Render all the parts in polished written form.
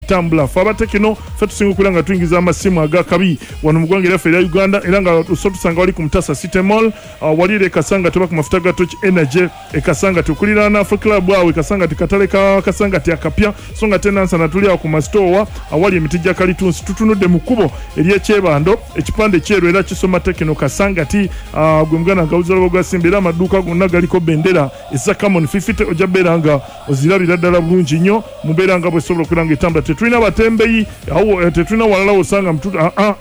Tambula ffe aba Tecno, ffe tusinga okubeera nga tuyingiza amasimu agakabi wano mu ggwanga eryaffe erya Uganda, era nga so tusanga wali ku Mutasa City Mall, wali era e Kasangati oba ku mafuta ga Torch Energy e Kasangati okuliraana Afro Club awo e Kasangati, katale ka Kasangati akapya. So nga tenansana tuli awo ku masitoowa awali emiti gya kalitunsi, tutunudde mu kkubo ery'ekyebando, ekipande kyeru era kisoma Tecno Kasangati. Gwe muganda nga awuliza gwa Simba, era amaduuka gonna galiko bendera eza Camon 50, ojja beera nga ozirabira ddala bulungi nnyo mu mbeera nga bwesobola okubeera nga etambula. Tetulina batembeyi awo, tetulina walala wosanga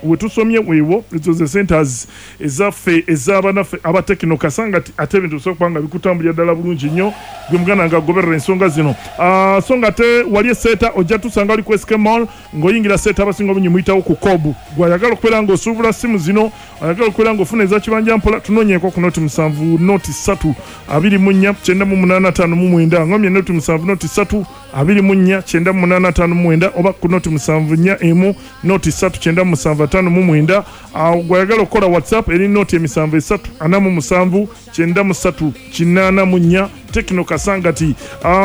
wetusomye weewo. Ezo ze centers ezaffe ez'abanaffe aba Tecno Kasangati, ate ebintu bisobola okuba nga bikutambulira ddala bulungi nnyo, gwe muganda nga agoberera ensonga zino. So nga te wali eseeta ojja tusanga wali ku SK Mall ng'oyingira seeta, abasinga obungi muyitawo ku kobu. Gwayagala okubeera ng'osuubula simu zino, ayagala okubeera ng'ofuna eza kibanja mpola, tunoonyeeko ku 0 7 0 3 24 98 59. Ngomye 0 7 0 3 24 98 59, oba ku 0 7 4 1 0 3 97 59. Awo gwayagala okukola WhatsApp eri 0 7 3 47 93 84. Tecno Kasangati.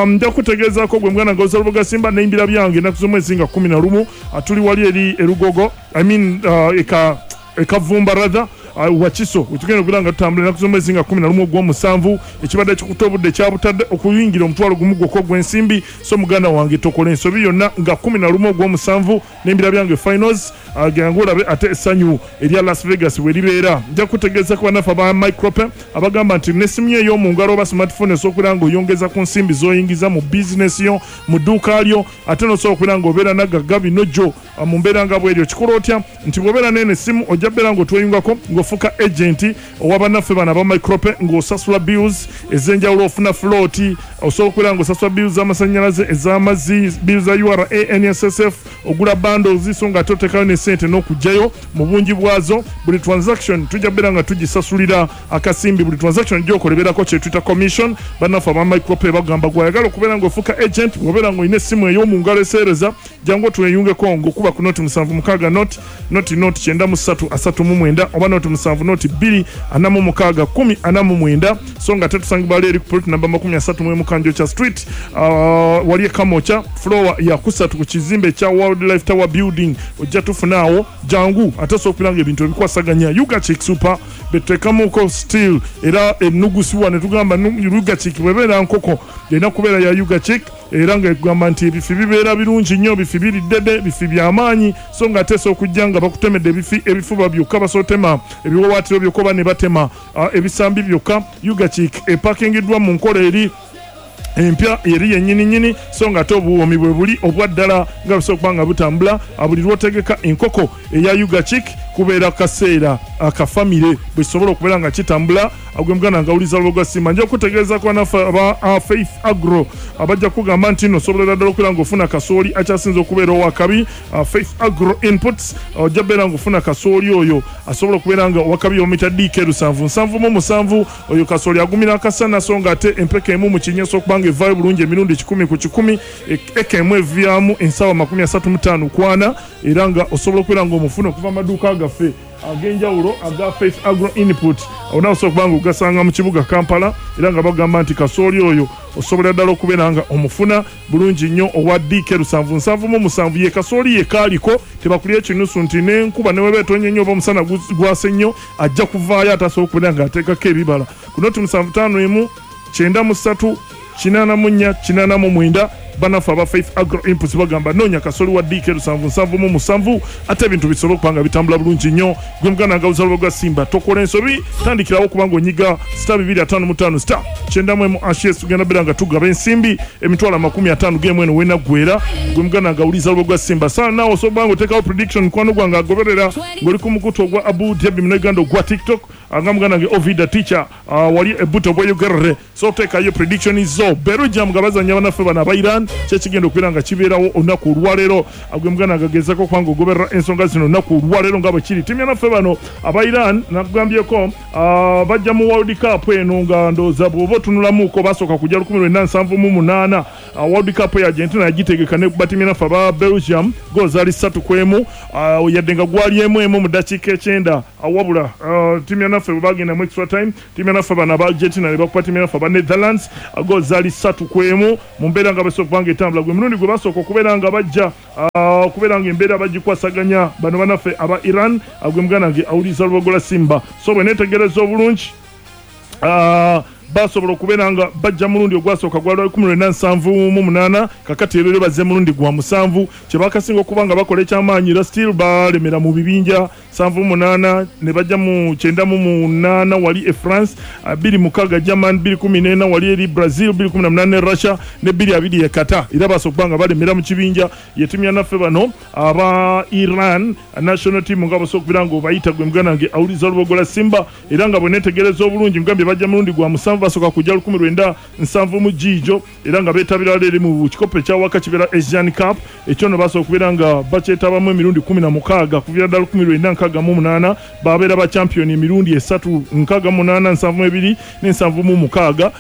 Nja kutegeezaako gwe muganda nga ozala Simba neimbira byange ennaku z'omwezi nga 11, tuli wali eri erugogo, I mean, eka ekavumba rather, Wakiso, wetugenda okubeera nga tutambula ennaku z'omwezi nga 11 ogw'omusanvu. Ekibadde kikuta obudde kyabutadde okuyingira 10,000 gwokka ogw'ensimbi. So muganda wange, tokola ensobi yonna nga 11 ogw'omusanvu n'embira byange finals, jangu olabe ate essanyu erya Las Vegas bwe libeera. Nja kutegeeza ku bannaffe aba Micropay abagamba nti n'essimu yo ey'omu ngalo oba smartphone osobola okubeera ng'oyongeza ku nsimbi z'oyingiza mu bizinesi yo, mu dduuka lyo, ate n'osobola okubeera ng'obeera nagagga bino gyo mu mbeera nga bw'eryo. Kikola otya? Nti bw'obeera n'eno essimu, ojja beera ng'otweyungako ng'ofuuka agent owa bannaffe bano aba Micropay, ng'osasula bills ez'enjawulo, ofuna float, osobola okubeera ng'osasula bills z'amasannyalaze, ez'amazzi, bills za URA, NSSF, ogula bundles, so nga ate oteekayo ne ssente n'okugjayo mu bungi bwazo. Buli transaction tujja beera nga tugisasulira akasimbi. Buli transaction gyokola ebeerako kyetuyita commission. Bannaffe aba Micropay bagamba gwayagala okubeera ng'ofuuka agent, bw'obeera ng'olina essimu ey'omu ngalo eseereza, jangu otweyungeko ng'okuba ku 0 7 6 0 0 0 93 39, oba 0 7 0 2 46 10 49. So nga tetusangibwa leeri ku plot namba 31 Kanjokya Street, wali ekamoca, floor ya kusatu ku kizimbe ekya World Life Tower Building. Ojja tufunaawo, jangu ate osobola okubeera nga ebintu ebikwasaganya. Ugachik Super betuteekamuko still, era enugusiwa ne tugamba Ugachik bwebeera nkoko erina kubeera ya Ugachik, era nga egamba nti ebifi bibeera birungi nnyo, bifi biri ddede, bifi byamaanyi. So nga ate osobola okujja nga bakutemedde ebifi, ebifuba byokka, basootema ebiwawaatiro byokka oba ne batema ebisambi byokka. Ugachik epakingiddwa mu nkola eri empya eri yennyini nnyini, so nga ate obuwoomi bwe buli obwa ddala nga busobola okuba nga butambula. Buli lw'otegeka enkoko eya Ugachik kubeera kaseera akafamire bwe kisobola okubeera nga kitambula. Gwe muganda nga awuliza lwoga Simba, nja okutegeeza ku banaffe aba Faith Agro abajja kugamba nti nno osobolera ddala okubeera ng'ofuna kasooli akyasinza okubeera owakabi. Faith Agro Inputs, ojja beera ng'ofuna kasooli oyo asobola okubeera nga owakabi, omuyita DK 777. Oyo kasooli agumira akasana, so nga ate empeka emu mu kinnya osobola okuba nga evaayo bulungi emirundi 100%. Eka emu evyamu ensawo 35 kwana, era nga osobola okubeera ng'omufuna okuva mu maduuka gaffe ag'enjawulo aga Faith Agro Input. Awo nawe osobola okuba nga ogasanga mu kibuga Kampala, era nga bagamba nti kasooli oyo osobolera ddala okubeera nga omufuna bulungi nnyo, owa DK 777. Ye kasooli ye kaaliko tebakulya ekinusu nti n'enkuba neweba etonye nnyo oba omusana gwase nnyo, ajja kuvaayo ate asobola okubeera nga ateekako ebibala. Ku 0 7 5 93 84 89, bannaffe aba Faith Agro Inputs bagamba noonya kasoli wa DK 777, ate ebintu bisobole okuba nga bitambula bulungi nnyo. Gwe muganda nga uzalwa gwa Simba, tokola ensobi, tandikirawo okuba nga onyiga *255 *91#. Tugenda beera nga tugaba ensimbi emitwalo 50 gemu eno wenaggwera. Gwe muganda nga awuliza lwa gwa Simba saa naawe osobola okuba nga oteekawo prediction, mukwano gwange agoberera ng'oli ku mukutu ogwa Abu Dhabi Munauganda ogwa TikTok, nga muganda nge Ovida Teacher, wali ebuto bweyogerere, so oteekayo prediction zo. Belgium nga bazanya banaffe bano aba Iran, kyekigenda okubeera nga kibeerawo olunaku olwaleero. Gwe muganda nga gezaako okuba nga ogoberera ensonga zino olunaku olwaleero nga bwe kiri. Ttiimu yanaffe bano aba Iran nakugambyeko, bajja mu World Cup eno nga ndowooza bw'oba otunulamuuko basooka kujja 1978. World Cup ya Argentina yagitegeka ne tiimu yanaffe aba Belgium goal zaali 3-1, yadde nga gwali 1-1 mu ddakiika 9. Wabula tiimu yanaffe bwe bagenda mu extra time, tiimu yanaffe bano aba Argentina ne bakuba tiimu yanaffe aba Netherlands goal zaali 3-1 mu mbeera nga basobola okuba nga etambula. Gwe mulundi gwe basooka okubeera nga bajja okubeera nga embeera bagikwasaganya bano banaffe aba Iran. Gwe muganda wange awuliriza Lubogola Simba, so bwe neetegereza obulungi basobola okubeera nga bajja mulundi ogwasooka gwali 1978, kakati era bazze mulundi gwa 7 kyebakasinga okuba nga bakola ekyamaanyi, era still balemera mu bibinja 78 ne bajja mu 98 wali e France, 26 German, 2014 wali eri Brazil, 2018 Russia ne 2020 e Qatar. Era basobola okuba nga balemera mu kibinja. Ye ttiimu yanaffe bano aba Iran national team nga basobola okubeera nga obayita gwe muganda wange awuliza Lubogola Simba, era nga bwe neetegereza obulungi mugambye bajja mulundi gwa 7, basooka kujja 1970 giijo, era nga beetabira eri mu kikopo ekyawaka kibeera Asian Cup ekyo nno basobola okubeera nga bakyetabamu emirundi 16 kuviira ddala 1968. Babeera ba champion emirundi 3, 68, 72 ne 76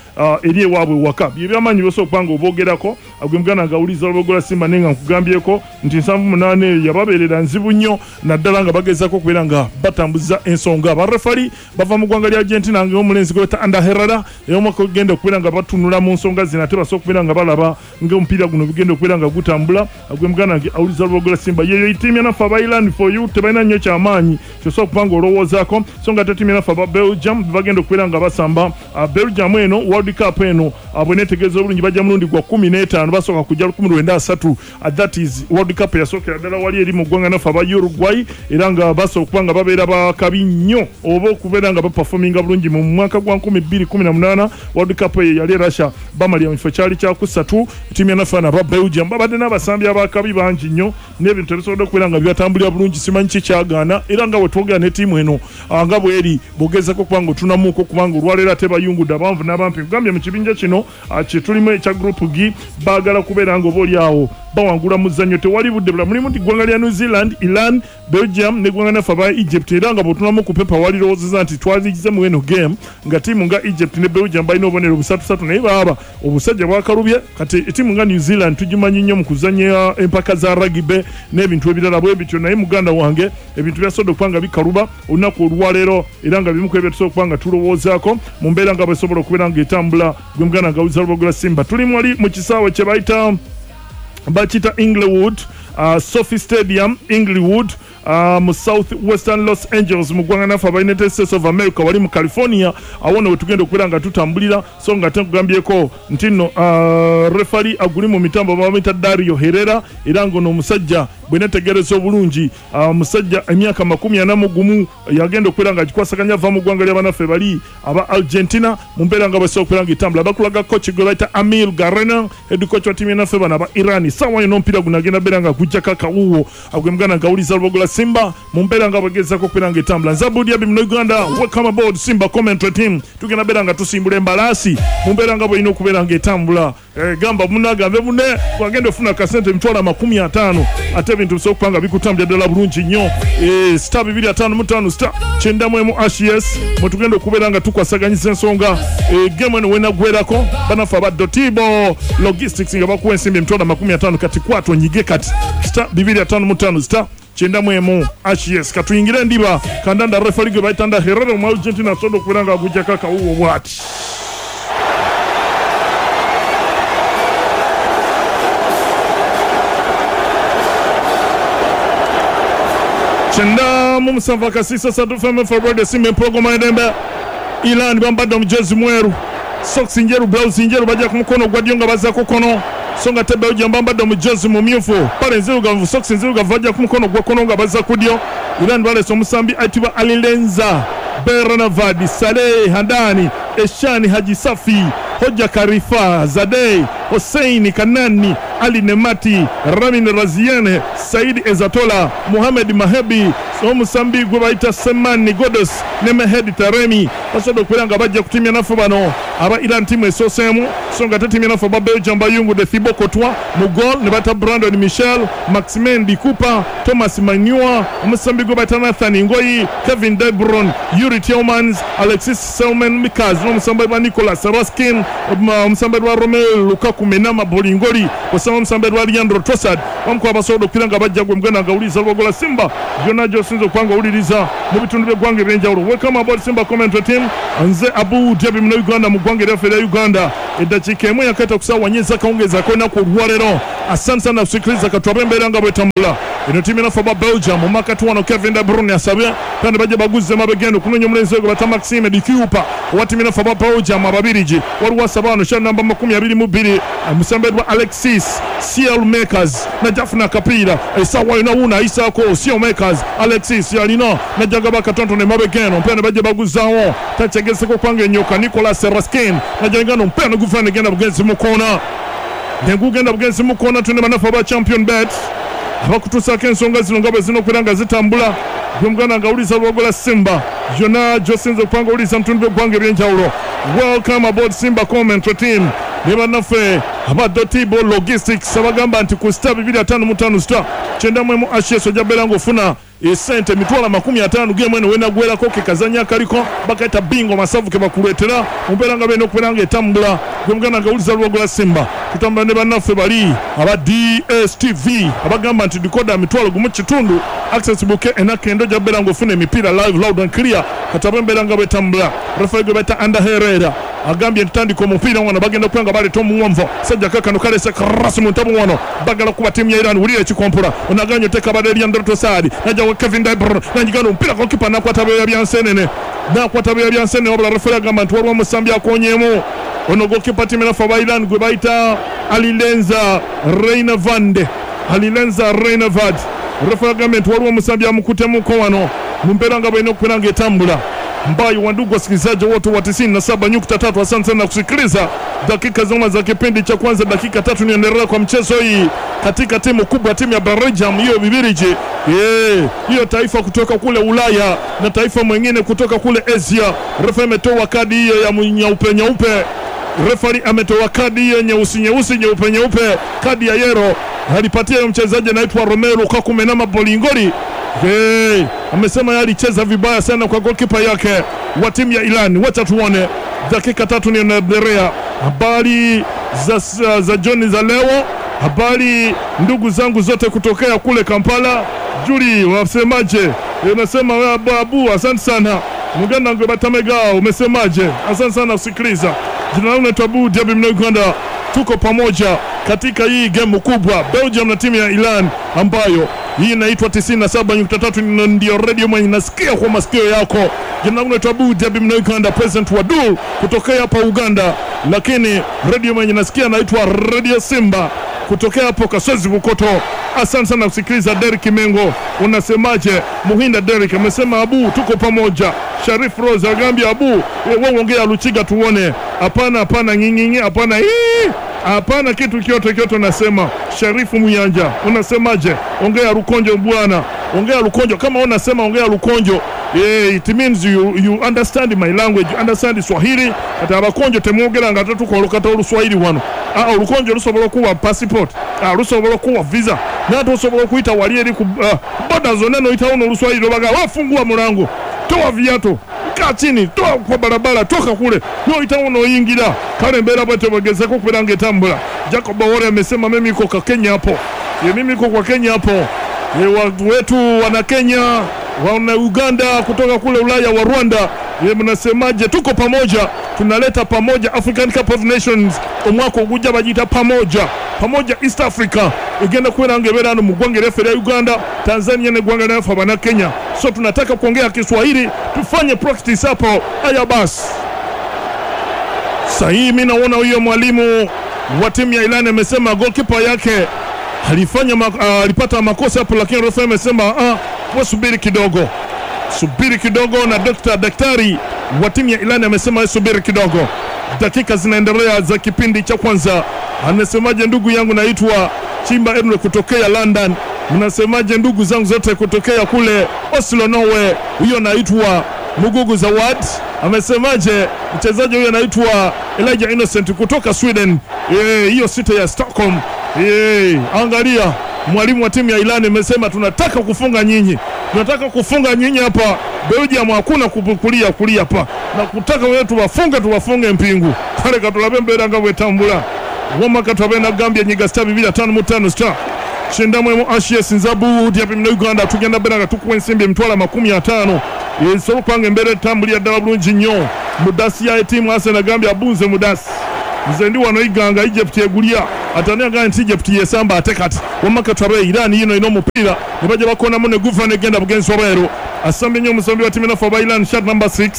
eri ewaabwe waka. Bye byamaanyi byosobola okuba nga oboogerako gwe muganda nga awuliza Lubogola Simba, naye nga nkugambyeko nti 78 eyo yababeerera nzibu nnyo, naddala nga bagezaako okubeera nga batambuza ensonga. Barefali bava mu ggwanga lya Argentina nga omulenzi gwe bayita Ander Herrera, era omwaka ogenda okubeera nga batunula mu nsonga zino ate basobola okubeera nga balaba ng'omupiira guno gugenda okubeera nga gutambula. Gwe muganda wange awuliza Lubogola Simba, yeyo ttiimu yanaffe aba Iran for you, tebalina nnyo kyamaanyi kyosobola okuba nga olowoozaako. So nga ate ttiimu yanaffe aba Belgium bagenda okubeera nga basamba. Belgium eno World Cup eno bwe neetegereza obulungi bajja mulundi gwa 15, basooka kujja 1930, that is World Cup yasookera ddala wali eri mu ggwanga naffe aba Uruguay, era nga basobola okuba nga babeera bakabi nnyo oba okubeera nga baperforminga bulungi. Mu mwaka gwa 2018 World Cup eyo yali e Russia, bamalira mu kifo kyali kyakusatu. Ttiimu yanaffe aba Belgium babadde n'abasambi abakabi bangi nnyo n'ebintu ebisobodde okubeera nga bibatambulira bulungi, simanyi ki kyagaana. Era nga bwe twogera ne ttiimu eno nga bweri bw'ogezaako okuba nga otunamuuko, kubanga olwaleero ate bayungudde abanvu n'abampi. Nkugambye mu kibinja kino kye tulimu ekya group G, baagala kubeera nga oba oli awo bawangula muzannyo, tewali budde bula. Mulimu nti ggwanga lya New Zealand, Iran, Belgium n'eggwanga naffe aba Egypt, era nga bw'otunamu ku pepa walirowoozezza nti twaligize mu eno game nga ttiimu nga Egypt ne Belgium balina obubonero busatu, naye baaba obusajja bwakalubye. Kati ttiimu nga New Zealand tugimanyi nnyo mu kuzannya empaka za rugby n'ebintu ebirala bwe bityo, naye muganda wange ebintu byasobodde okuba nga bikaluba olunaku olwaleero, era nga bimu ku ebyo tusobola okuba nga tulowoozaako mu mbeera nga bwesobola okubeera nga etambula. Gwe muganda nga awuliza Lubogola Simba, tuli wali mu kisaawe kye bayita bakiyita Inglewood, SoFi Stadium Inglewood, mu South Western Los Angeles mu ggwanga naffe aba United States of America, wali mu California. Awo nno wetugenda okubeera nga tutambulira. So nga ate nkugambyeko nti nno refali aguli mu mitambo bamuyita Dario Herrera, era ng'ono omusajja bwe netegereza obulungi omusajja emyaka 41 yagenda okubeera nga agikwasaganya, ava mu ggwanga ly'abanaffe bali aba Argentina. Mu mbeera nga bwesobola okubeera nga etambula, bakulaga coach gwe bayita Amir Garena, head coach wa ttiimu yanaffe bano aba Iran. Saawa yonna omupiira guno agenda beera nga gujjako akawuuwo. Gwe muganda nga awuliza Lubogola Simba, mu mbeera nga bwegezaako okubeera nga etambula. Nze Abudi Abi muno Uganda, welcome aboard Simba commentary team. Tugenda beera nga tusimbula embalaasi mu mbeera nga bwelina okubeera nga etambula. Gamba munagambe mune wagenda ofuna akasente 250,000, ate ebintu bisobola okuba nga bikutambulira ddala bulungi nnyo. Star 255 star 91 hash, yes, mwe tugenda okubeera nga tukwasaganyiza ensonga. Game eno wenaggwerako, banaffe aba Dotibo Logistics nga bakuwa ensimbi 250,000. Kati kwata onyige kati star 255 star 91 hash, yes. Katuyingire endiba kandanda. Refali gwe bayita Ander Herrera omu Argentina asobodde okubeera nga agujjako akawuwo bw'ati. 97 akasiisa 3 FM Radio Simba empologoma y'eddembe. Iran bambadde omujezi mweru, socks njeru, blouse njeru, bajja ku mukono ogwa ddyo nga bazza ku kkono. So nga ate Belgium bambadde omujezi mumyufu, ppale nzirugavu, socks nzirugavu, bajja ku mukono ogwa kkono nga bazza ku ddyo. Iran baleese omusambi ayitibwa Alilenza Beranavad, Saleh Handani, Eshani Haji Safi, Hoja Karifa Zadeh, Hossein Kanani, Ali Nemati, Ramin Razian, Said Ezatola, Muhamed Mahebi, omusambi gwe bayita Semani Godos ne Mehed Taremi basobodde okubeera nga bajja kutimya naffe bano aba Iran, ttiimu esooseemu. So nga ate ttiimu yanaffe aba Belgium bayungudde Thibaut Courtois mu goal, ne bata Brandon Michel, Maximin Di Cooper, Thomas Manua, omusambi gwe bayita Nathan Ngoyi, Kevin De Bruyne, Yuri Tielemans, Alexis Selman Mikaz n'omusambi wa Nicolas Raskin, omusambi wa Romelu Lukaku. Kakumenama Bolingoli osama musambe lwa Leandro Trossard bamukuba abasobola okuira nga bajja gwe muganda nga awuliriza Lwogola Simba byonna gy'osinza okuba nga owuliriza mu bitundu by'eggwanga eby'enjawulo. Welcome aboard Simba commentary team. Nze Abu Dhabi Munnayuganda mu ggwanga eryaffe erya Uganda. Eddakiika emu eyakaita ku ssaawa nnya ez'akawungeezi ak'olunaku olwaleero. Asante sana kusikiliza, katulabe embeera nga bwetambula. Eno ttiimu enaffe aba Belgium mu makkati wano Kevin De Bruyne asabye kandi bajja baguzze emabega eno okunoonya omulenzi gwe bata Maxime De Cuyper owa ttiimu enaffe aba Belgium Ababirigi. Waliwo asaba wano kya namba 22 omusambe gwa Alexis Saelemaekers najja afuna akapiira essaawa yonna wuuno ayisaako Saelemaekers. Alexis alina najja gaba akatonotono emabega eno omupiira ne bajja baguzaawo takyegezeko okubanga enyoka Nicolas Raskin najja ngano omupiira ne guva negenda bugenzi mu koona negugenda bugenzi mu koona. Tune bannaffe aba Champion Bet abakutuusaako ensonga zino nga bwe zirina okubeera nga zitambula. Gwe muganda nga awuliriza Lwogola Simba yonna gy'osinza okuba nga owuliriza mu bitundu by'eggwanga eby'enjawulo. Welcome aboard Simba commentary team ne bannaffe aba Dotibo Logistics abagamba nti ku star 255 star 91 HS ojja kubeera ng'ofuna esente 50,000 gemu eno wenagwerako ke kazanyo akaliko bakaita bingo masavu ke bakuleetera mu mbeera nga beerina okubeera nga etambula. Gwe muganda nga awuliriza Lwogola Simba tutambula ne bannaffe bali aba DSTV abagamba nti decoder 5,500 access bouquet enakendo ojja kubeera ng'ofuna emipiira live, loud and clear. Katabe embeera nga bwetambula. Referee gwe bayita Ander Herrera agambye nti tandika omupiira wano bagenda okuba nga baleeta omuwanvu sajja kakano kaleese cross mu ntabu wano bagala kuba ttiimu ya Iran. Wulira ekikompula onaganye oteeka badde Leandro Trossard najja wa Kevin De Bruyne nanyigana omupiira goalkeeper nakwata byoya bya nsenene nakwata byoya bya nsenene wabula referee agamba nti waliwo omusambi akonyeemu ono goalkeeper ttiimu enaffe aba Iran gwe bayita Alireza Reynevand. Alireza Reynevand referee agambye nti waliwo omusambi amukutemuko wano mu mbeera nga bw'erina okubeera nga etambula. Mbayo wa ndugu wasikilizaji wote wa 97.3, asante sana kusikiliza dakika zima za kipindi cha kwanza, dakika 3 niendelea kwa mchezo hii katika timu kubwa, timu ya Belgium hiyo Bibiriji hiyo taifa kutoka kule Ulaya na taifa mwingine kutoka kule Asia. Refa ametoa kadi hiyo ya nyeupe nyeupe, refari ametoa kadi hiyo nyeusi nyeusi nyeupe nyeupe, kadi ya yero alipatia mchezaji anaitwa Romelu Kakumenama Bolingoli. Hey, amesema yeye alicheza vibaya sana kwa goalkeeper yake wa timu ya Iran. Wacha tuone dakika 3 niendelea. Habari za jioni za leo, habari ndugu zangu zote kutokea kule Kampala. Juli wasemaje? Unasema wewe babu, asante sana. Muganda ngwe batamega umesemaje? Asante sana kusikiliza. Jina langu naitwa Abu Dhabi mna Uganda. Tuko pamoja katika hii game kubwa Belgium na timu ya Iran ambayo hii inaitwa 97.3 ndio radio mwenye nasikia kwa masikio yako. Jina langu naitwa Abu Dhabi mna Uganda, president wa Dul kutokea hapa Uganda, lakini radio mwenye nasikia naitwa Radio Simba kutokea hapo Kasozi Bukoto. Asante sana kusikiliza. Derek Mengo unasemaje? Muhinda Derek amesema Abu tuko pamoja. Sharif Rose agambia Abu wewe ongea Luchiga tuone. Hapana hapana nyinyi hapana hii. Hapana kitu kioto kioto nasema. Sharifu Muyanja unasemaje? Ongea Rukonjo bwana. Ongea Rukonjo kama unasema ongea Rukonjo. Yeah, it means you understand my language, you understand Swahili. Ata abakonjo temwogera nga tatukolokata Oluswahili wano. Olukonjo lusobola okuwa passport, lusobola okuwa visa. Nato osobola okuyita wali eri ku boda zonna n'oyitawo n'Oluswahili obaga wafungua mulango, toa viatu, kaa chini, toa kwa barabara, toka kule. N'oyitawo n'oyingira. Kale embeera bwetyo bwegezeko okubeera ng'etambula. Jacob Owore amesema mimi niko kwa Kenya hapo. Mimi niko kwa Kenya hapo. Watu wetu wana Kenya, wana Uganda, kutoka kule Ulaya wa Rwanda. Mnasemaje? Tuko pamoja, tunaleta pamoja African Cup of Nations omwaka ogujja bagiyita pamoja pamoja East Africa egenda kubeera ng'ebeera hano mu ggwanga eryaffe erya Uganda, Tanzania n'eggwanga lyaffe abana Kenya. So tunataka kuongea Kiswahili, tufanye practice hapo. Haya basi, sasa mimi naona huyo mwalimu wa timu ya Iran amesema goalkeeper yake alifanya alipata makosa hapo, lakini refa amesema subiri kidogo, subiri kidogo. Na daktari wa timu ya Iran amesema subiri kidogo. Dakika zinaendelea za kipindi cha kwanza. Anasemaje ndugu yangu naitwa Chimba Edwin kutokea London. Mnasemaje ndugu zangu zote kutokea kule Oslo Norway? Huyo naitwa Mugugu Zawad. Amesemaje mchezaji huyo anaitwa Elijah Innocent kutoka Sweden. Hiyo sita ya Stockholm. Angalia mwalimu wa timu ya Iran amesema tunataka kufunga nyinyi. Tunataka kufunga nyinyi hapa Belgium, hakuna kulia kulia hapa. Na kutaka wewe tuwafunge mpingu. Kale katulabe mbere nga bwetambula. Wamma katwabe nagambye nyiga star 255 star 91 ashes nzabu diapi mna Uganda tugenda bera nga tukuwa ensimbi emitwalo 50 esobola okubanga embeera etambulira ddala bulungi nnyo. Mudasi ya etiimu Arsenal agambye abunze mudasi nze ndi wano Iganga Egypt egulya atani agambye nti Egypt yesamba ate kati wamma katwabe Iran yino ina omupiira ne bajja bakonamu ne guva negenda bugenzi wabweru asambye nnyo omusambi wa tiimu enafu aba Iran shot number 6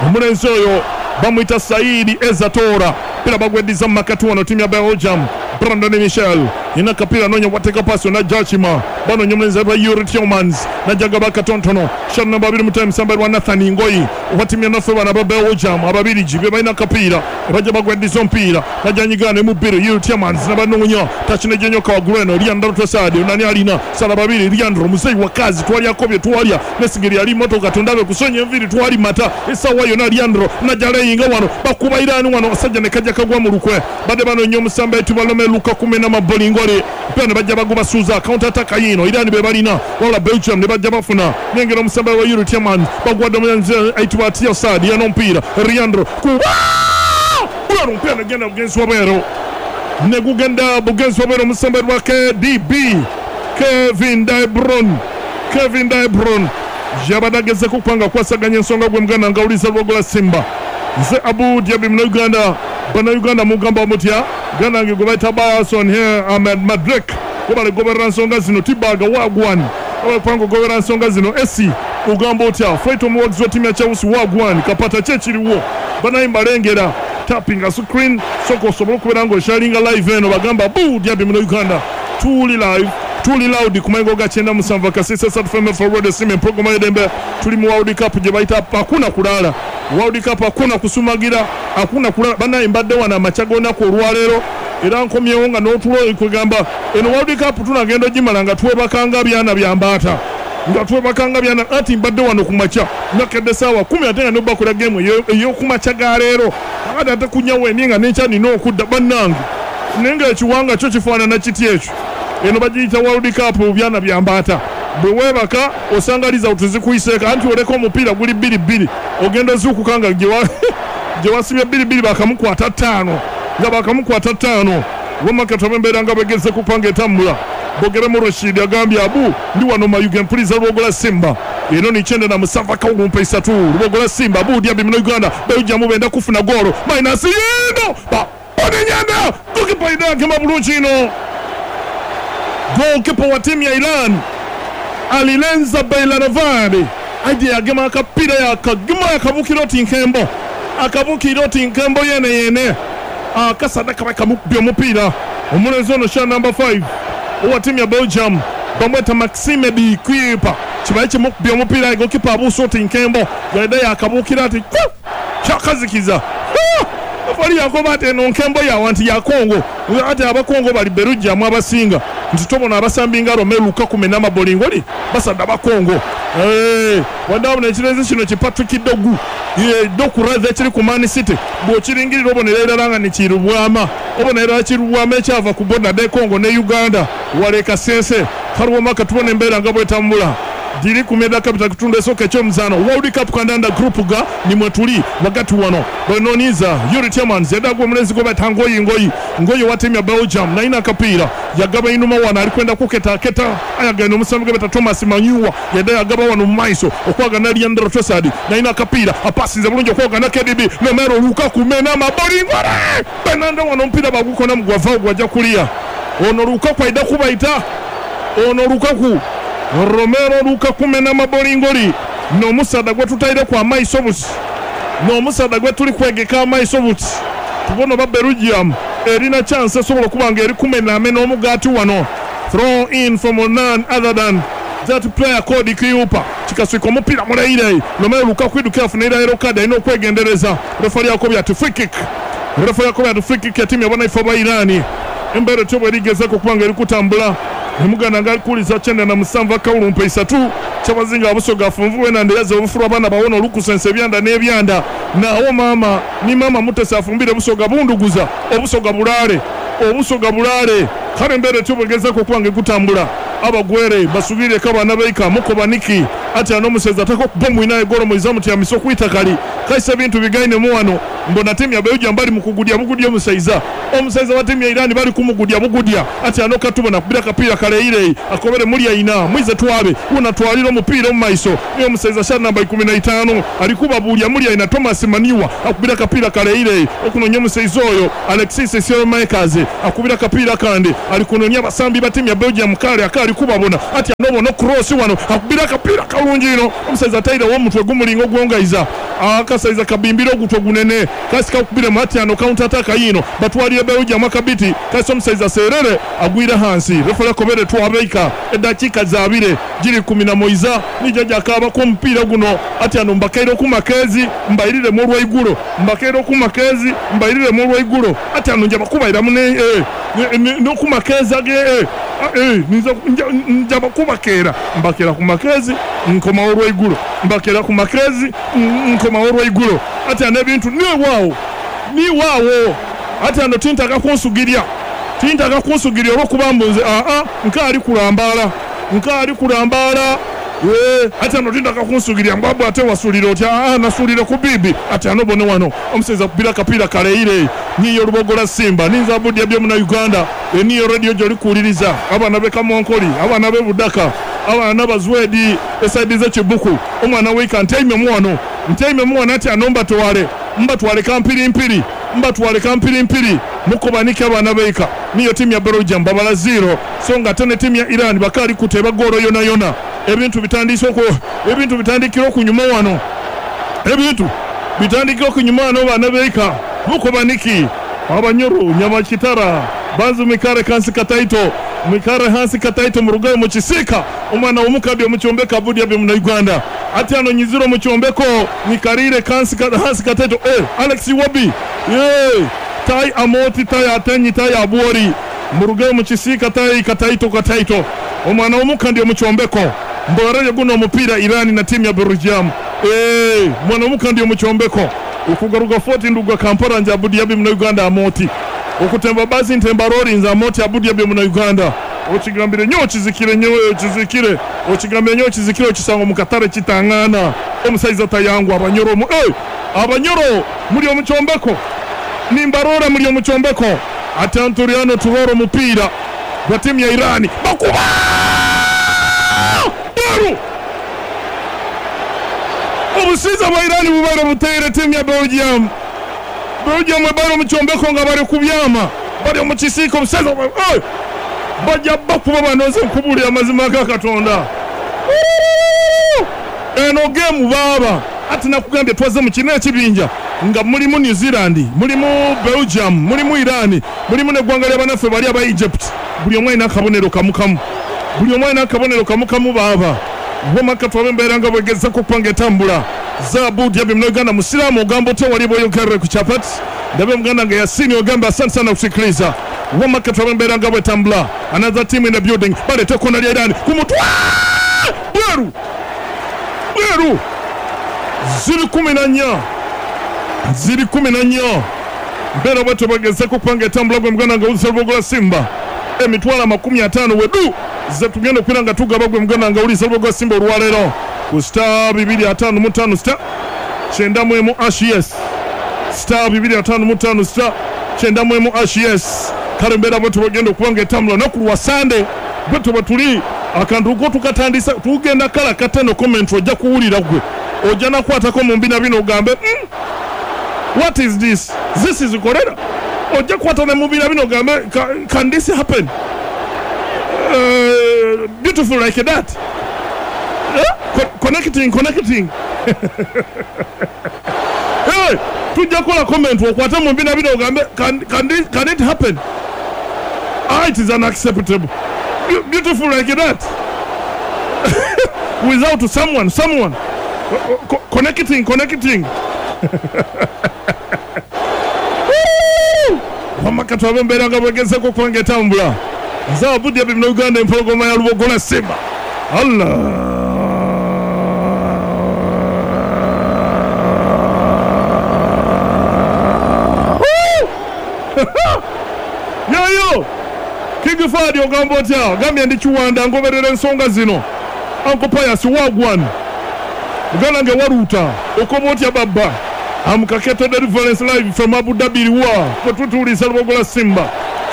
omulenzi oyo bamuyita Saidi Ezatora pira bagweddiza mu makati wano tiimu ya Belgium Brandon Michel ina kapira nonya wateka pasi na Jachima bano nyomulenzi wa Yuri Tillmans najaga bakatontono shot number 2 msamba wa Nathan Ngoyi wa tiimu enafu bana ba Belgium ababirigi be balina kapira bajja bagweddiza omupiira najanyigana mubiri Yuri Tillmans nabanoonya takinejenyoka wa Greno Leandro Trossard nani alina sala babiri Leandro muzeyi wa kazi twali akobye twalya nesigiri ali motoka tondabe kusonya enviri twali mata esawa yona Leandro najaleyinga wano bakuba Irani wano asajja ne kajja kagwa mu lukwe badde banoonya omusamba etubalome Lukaku mena mabolingole pia ne bajja bagubasuuza counter attack yino Irani be balina wala Belgium ne bajja bafuna nengera omusamba wa Yuri Tillmans bagwadde omulenzi ayitibwa Trossard yana omupiira Leandro kuba omupiira negenda bugenzi wabweru negugenda bugenzi wabweru omusamba wa KDB Kevin De Bruyne Kevin De Bruyne yabadde agezeko okubanga akwasaganya ensonga gwe muganda ngawuliza Lwogola Simba nze Abu Diaby muna Uganda bana Uganda mugamba mutya Uganda nge gwe bayita Bason here Ahmed Madrek gobale goberera nsonga zino Tibaga wagwan abapanga gobera nsonga zino esi ugamba otya fight omuwagizi wa tiimu ya Chelsea wagwan kapata kyekiriwo banaye mbalengera tapping a screen soko osobola okubeera ng'osharinga live eno bagamba Abu Diaby muna Uganda tuli live tuli loud ku mayengo ga 97 kasisa sat FM for Radio Simba program y'eddembe tuli mu World Cup gye bayita hakuna kulala World Cup hakuna kusumagira hakuna kulala banaye mbadde wano amakya g'olunaku olwaleero era nkomyewo nga n'otulo kwegamba eno World Cup tunagenda ogimala nga twebakanga byana bya mbaata nga twebakanga byana ati mbadde wano ku makya nakedde ssaawa 10 ate nga nobakola game ey'okumakya ga leero ate ate kunyawo emi nga n'enkya nina okudda bannange naye nga ekiwanga kyo kifaanana kiti ekyo eno bagiyita World Cup byana bya mbaata bwe weebaka osanga result zikuyiseeko anti oleka omupiira guli 2-2 ogenda ozuukuka nga gye wasibye 2-2 bakamukwata 5 nga bakamukwata 5 wamma embeera nga begeze kupanga etambula Bogeremu Rashid agambye Abu ndi wano Mayuge mpuliza Lwogola Simba eno ni 97 kawumpa 3 Lwogola Simba Abu Diaby muna Uganda Belgium benda kufuna golo minus yino baonenyana goalkeeper idagema bulungi ino goalkeeper wa timu ya Iran Alilenza Beiranvand aje yagema akapira yakagema yakabukira oti nkembo akabukira oti nkembo yene yene akasadaka bakamukubya omupiira omulenzi ono sha number 5 owa timu ya Belgium bamweta Maxime de Kuiper kibaye kimukubya omupiira goalkeeper abuusa oti nkembo yadde yakabukira ati kyakazikiza afali yakoba ati eno nkembo yawa nti ya Kongo ate abakongo bali Belgium abasinga nti tobona abasambi nga Romelu Lukaku mena mabolingoli basadda bakongo wadde ekirenzi kino ki Patrick Dogu Doku rather ekiri ku Man City bw'okiringirira obonera irala nga nikirubwama obonera kirubwama ekyava ku border de Congo ne Uganda waleka sense kaliwo tubona embeera nga bwetambula diri kumeda kapita kutundu esooka ekyomuzaano World Cup kandanda group ga nimwe tuli wakati wano benoniza Yuri Tillmans yadagwa omulenzi gwe bayita Ngoyi Ngoyi Ngoyi wa tiimu ya Belgium nayina akapiira yagaba inuma wano alikwenda kuketa keta ayagenda omusambi gwe bayita Thomas Manyuwa yadde yagaba wano mu maiso okwagana Leandro Trossard nayina akapiira apasinze bulungi okwagana KDB Romelu Lukaku mena mabolingole Bernardo wano omupiira bagukona mugwava gwajja kulia ono Lukaku aida kubayita ono Lukaku Romero Lukaku mena mabolingoli n'omusaadha gwe tutaireku amaiso buti n'omusaadha gwe tuli kwegeka amaiso buti tubona oba Belgium erina chance esobola okuba nga eri kumenaamena omugaati wano throw in from none other than that player called Kuiper kikaswika omupiira muleire Romelu Lukaku idduka afuna yellow card alina okwegendereza refari yakobye ati free kick refa yakobye ati free kick ya tiimu y'abanaife aba Irani embeera etyo bwerigezaako okuba nga eri kutambula Emuganda nga alikuliza 97 akawulumpa 3 kyabazinga abusoga afunvuwe nande yaza obufulu abaana bawona olukusensa ebyanda n'ebyanda naawo maama ni maama Mutesa afumbire busoga bunduguza obusoga bulaale obusoga bulaale kale embeera etyo bwegezaako okuba nga ekutambula abagwere basubireko abaana baika mukoba niki ati ano omuseza atako bomu inaye golo muizamu tyamisa okwitakali Kaisa ebintu bigainemu wano mbona tiimu ya Belgium bali mu kugudya bugudya omusaiza. Omusaiza wa tiimu ya Iran bali kumugudya bugudya. Ati ano katubona kubira kapiira kaleyireyi akobere mulya ina mwize twabe unatwalira omupiira omu maiso. Niyo omusaiza sha namba 15 alikuba bulya mulya ina Thomas Maniwa akubira kapiira kaleyireyi okunonya omusaiza oyo Alexis Saelemaekers akubira kapiira kandi alikunonya abasambi ba tiimu ya Belgium kale akali kubabona. Ati anobo no cross wano akubira kapiira kalungi ino omusaiza ataire w'omutwe gumulinga ogwongaiza akasaiza kabimbira ogutwe gunene kasi kakubira mati ano counter attack yino batwalire Belgium akabiti kasi omusaiza serere agwira hansi refera kobere twabeika edakika zabire jiri 11 nijaja akaba ku mupiira guno ati ano mbakaire ku makezi mbairire mu lwaigulo mbakaire ku makezi mbairire mu lwaigulo ati ano nja bakubaira mune no ku makezi age nja bakubakera mbakera ku makezi nkoma olwaigulo mbakera ku makezi nkoma olwaigulo ati ano ebintu ni waawo ati ano tintaka kunsugiria olwokuba mbunze nkaali kulambaala ati ano tintaka kunsugiria mbwabu ate wasulira otya nasulire ku bibi ati ano bone wano omusaiza kubira kapiira kaleire niyo Lubogola Simba ninza budya byo muna Uganda niyo radio gyoli kuwuliriza abaana be Kamonkoli abaana be Budaka abaana bazwedi esaidi z'ekibuku omwana weika ntaime muwano ati ano mbatwale kampirimpiri mbatwale kampirimpiri mukobanike abaana beika niyo timu ya Belgium babala 0 so nga tene timu ya Iran bakali kuteba goro yona yona ebintu bitandikira okunyuma wano ebintu bitandikira okunyuma wano abaana beika mukobaniki abanyoro nyamakitara banzu mikare kansi kataito mikare hansi kataito murugayo mu kisika omwana w'omukabi omuchombeka budya byo muna Uganda ati ano nyiziro muchombeko nikarire kansi hansi kataito Alex Iwobi tai amoti tai atenyi tai abuori murugayo mu kisika tai kataito omwana w'omukandi omuchombeko mborere guno omupira Irani na timu ya Belgium mwana w'omukandi omuchombeko ukugaruka 40 nduga Kampala nja budya byo muna Uganda amoti okutemba bazi ntemba rori nza amoti abudya byo muna Uganda okigambire nyo kizikire nyo kizikire okigambire nyo kizikire okisango mu katare kitangana omusaiza tayangwa abanyoro abanyoro muri omuchombeko nimbarora muri omuchombeko atanturiano turoro mupira wa timu ya Irani bakuba Baru obusiza bwa Irani bubaire buteire timu ya Belgium bari omuchombeko nga bari kubyama bari omukisiko omusaiza bajja bakuba banoze nkubulira amazima ga Katonda eno game baba ati nakugambye twaze mu kino ekibinja nga mulimu New Zealand mulimu Belgium mulimu Iran mulimu n'eggwanga ly'abanaffe bali aba Egypt buli omu alina akabonero kamukamu buli omu alina akabonero kamukamu baba wamaka twabe embeera nga bwegezako okupanga etambula zabudi yabye muna Uganda musiraamu ogamba otya wali bw'oyogerere ku chapati ndabe muganda nga Yasini ogamba asante sana kusikiliza wamaka twabe embeera nga bwetambula another team in the building baleeta kona lya Iran ku mutwe bweru ziri 14 ziri 14 mbeera bwetyo bwegezako okupanga etambula gwe muganda nga wulisa Lubogola Simba emitwalo 50 wedu ze tugenda okwira nga tugaba gwe muganda nga wulisa Lubogola Simba olwaleero ku star 255 star 91 HES star 255 star 91 HES kale mbeera bwetyo bwegenda okubanga etambula olunaku lwa Sande bwetyo bwe tuli akantu ko tukatandisa tugenda kala kateno comment ojja kuwulira gwe ojja nakwatako mu mbina bino ogambe what is this this is cholera ojja kwata ne mu mbina bino ogambe can this happen beautiful like that connecting hey tujja kola comment okwate mu mbina bino ogambe can it happen it is unacceptable beautiful like that without someone connecting wamakati wabembeera nga bwegezeko okubanga etambula nze abudya bimuna Uganda empologoma ya Lubogola Simba Allah yoyo King Fadi ogamba otya ogambye ndi kiwanda ngoberera ensonga zino Uncle Pius wagwan muganda nge waruta okoba otya babba Am Kaketo Deliverance live from Abu Dhabi wa kwetutuuliza Lubogola Simba.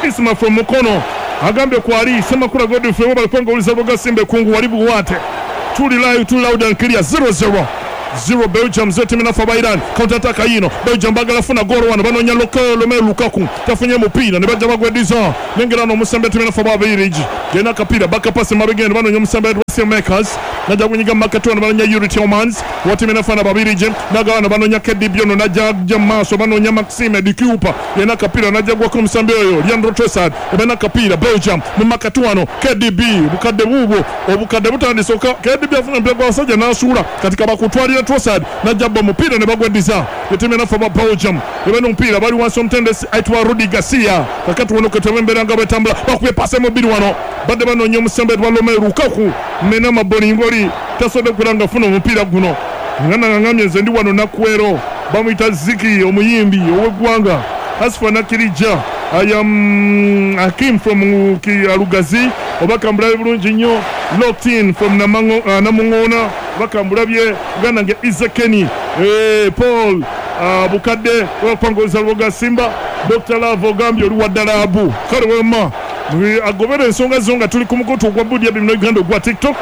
Isma from Mukono agambye kwali Semakula Godfrey wabali kwanga uliza Lubogola Simba kungu walibu wate. Tuli live, tuli loud and clear. 0-0. 0 Belgium 0 timu nafa Iran. Counter attack yino. Belgium bagala funa goro wano banonya Romelu Lukaku. Tafunye mupira ne bajja bagwediza. Nengera no musambe timu nafa Babiriji. Gena kapira baka pass mabegendo banonya musambe Russell Makers. Najja kunyiga makatona banonya Yuri Tillmans. Watimu nafa na Babiriji. Nagawana banonya KDB ono najja maso banonya Maxime de Cooper. Gena kapira najja gwa musambe oyo Leandro Trossard. Ebena kapira Belgium mu makatwano KDB bukadde bubo obukadde butandisoka KDB afuna mpira gwa basajja n'asuula katika bakutwalira Trossard najja mupira ne bagwediza. Yetimu nafa ba Belgium. Ebena mpira bali wansi omutendesi aitwa Rudi Garcia. Kakati wono ketembera nga betambula bakubye pase mubiri wano. Badde banoonya omusembe wa Romelu Lukaku mena mabolingoli tasobodde kulanga funa omupiira guno. Ngana ngamye nze ndi wano Nakwero bamuyita Ziki omuyimbi ow'eggwanga. Asfa Nakirija I am Hakim from Alugazi obaka mbulabe bulungi nnyo. Locked in from Namungona obaka mbulabye Uganda nge Izekeni Paul Bukadde wapangoza Luboga Simba. Dr. Love ogambye oli wa Dalabu kale wema agobera ensonga zonga tuli ku mukutu gwa Budi Abi muno Uganda gwa TikTok.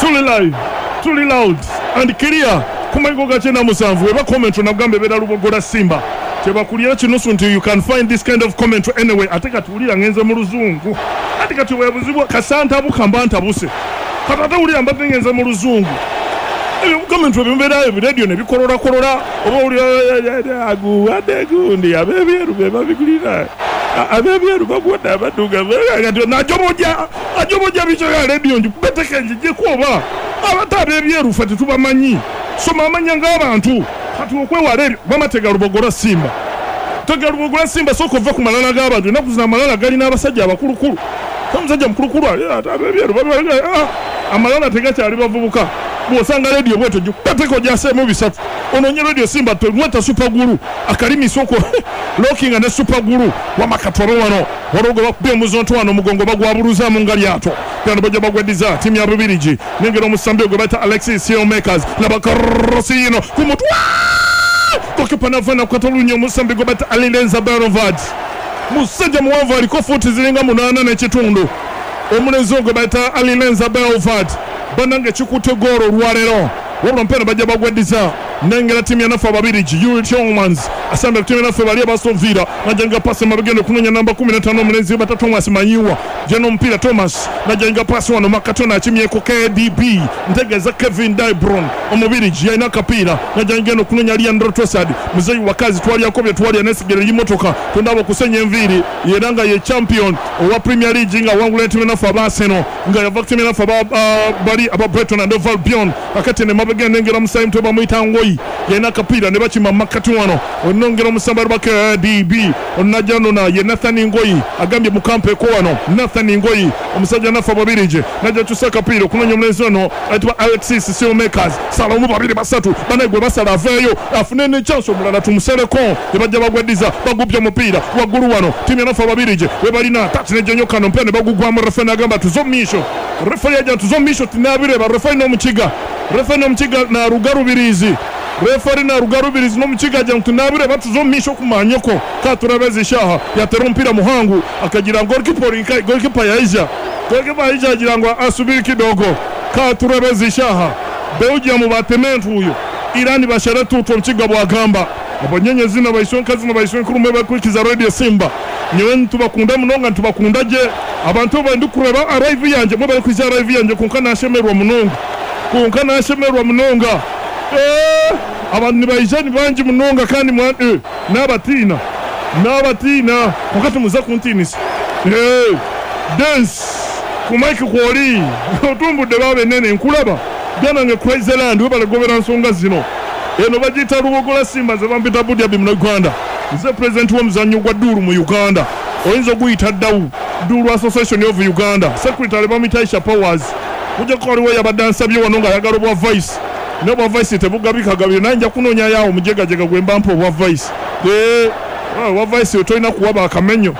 Tuli live, tuli loud and clear kumango ga 97 eba comment nagamba ebera Lubogola Simba tebakulira kinusu nti you can find this kind of comment anyway. Ate katuwulira ngenze mu luzungu ate katuwebuzibwa kasanta bukamba ntabuse kata wulira mbadde ngenze mu luzungu ebyo comment ebimbeera radio ne bikolora kolora oba wulira aguwadde gundi abebyeru be babigulira abebyeru bagwadde abaduga kati najomoja ajomoja bicho ya radio njibeteke njije kuoba abata abebyeru ffe tetubamanyi soma amanya ng'abantu kati okwewala ebyo bamatega Lubogola Simba. Tega Lubogola Simba sooka ova ku malala g'abantu ennaku zino amalala galina abasajja abakulukulu omusajja mukulukulu abebyeru amalala tegakyali bavubuka. Bw'osanga radio bwetyo gikuteko gyaseemu bisatu onoonye radio Simba tweta super guru akalimi soko locking ne super guru wamakatoro wano walogo bakubye omuzonto wano omugongo bagwabuluzaamu nga lyato byano bajja bagwediza timu ya Bubirigi. Nengera omusambi gwe bayita Alexis Makers labakrosi ino ku mutwe gokipa navana kukatolunya omusambi gwe bayita Alilenza Berovad. Musajja muwanvu aliko futi ziringa 8.5 omulenzi ogwe bayita Alilenza Berovad banange kikutte goolo olwaleero wabula mpena bajja bagwediza. Nengera timu ya nafa Ababirigi Yuri Tillmans asamba timu ya nafa bali abasovira najenga pasi mabegendo kunonya namba 15 omulenzi bata Thomas Manyiwa jeno mpira Thomas najenga pasi wano makatona akimyeko KDB ntegeza Kevin De Bruyne omubirigi yalina kapira najenga no kunonya Leandro Trossard muzeyi wakazi twali yakobye twali anesigere y'imotoka tondabo kusenya enviiri yeranga ye champion owa Premier League nga wangula timu ya nafa Arsenal nga yava timu ya nafa bali aba Brighton and Hove Albion akati ne mabegendo nengera musayi mto bamuyita Ngoyi yena kapira ne bakima makati wano onongera omusamba lwa KDB onajano na ye Nathan Ngoyi agambye mukampe ko wano Nathan Ngoyi omusajja nafa Babirije najja tusa kapira kunonya omulenzi ono ayitibwa Alexis Makers salamu babiri basatu banegwe basala aveyo afune ne chance omulala tumuseleko ne bajja bagwediza bagubya omupiira waggulu wano timu ya nafa Babirije webalina touch ne jonyoka no mpene bagugwamu refa nagamba tuzomisho refa yajja tuzomisho tinabireba refa n'omukiga refa n'omukiga na rugarubirizi refari na rugarubirizi n'omukiga ajja ntunabire batuzomisho kumanyoko katurabezishaha yatera omupiira muhangu akagira goalkeeper yaija goalkeeper yaija agira ngo asubiri kidogo katurabezishaha Belgium batementu uyo Irani basharatu utwo mukiga bwagamba abanyenye zina bayisonka zina bayisonka kurume bakurikiza radio Simba nyewe ntubakunda munonga ntubakunda je abantu bandi kureba arrive yanje mwe bari kwiza arrive yanje konka nashemerwa munonga konka nashemerwa munonga abantu nibayija ni bangi munonga kandi n'abatina n'abatina wakati muza kuntinisa dance ku mike kwoli otumbudde babe nene nkulaba byanange Crazyland webale gobera nsonga zino eno bagiyita Lubogola Simba ze bampita Budi Abi muno Uganda nze president w'omuzannyo gwa Duru mu Uganda oyinza oguyita Dawu Duru Association of Uganda secretary bamuyita Aisha Powers kujja ko waliwo yabadde ansabye wano ng'ayagala obwa vice n'obwa vice tebugabikagabire naye nja kunoonya yaawo mujegajega gwe mba mpa obwa vice obwa vice tolina kuwaba akamenyo.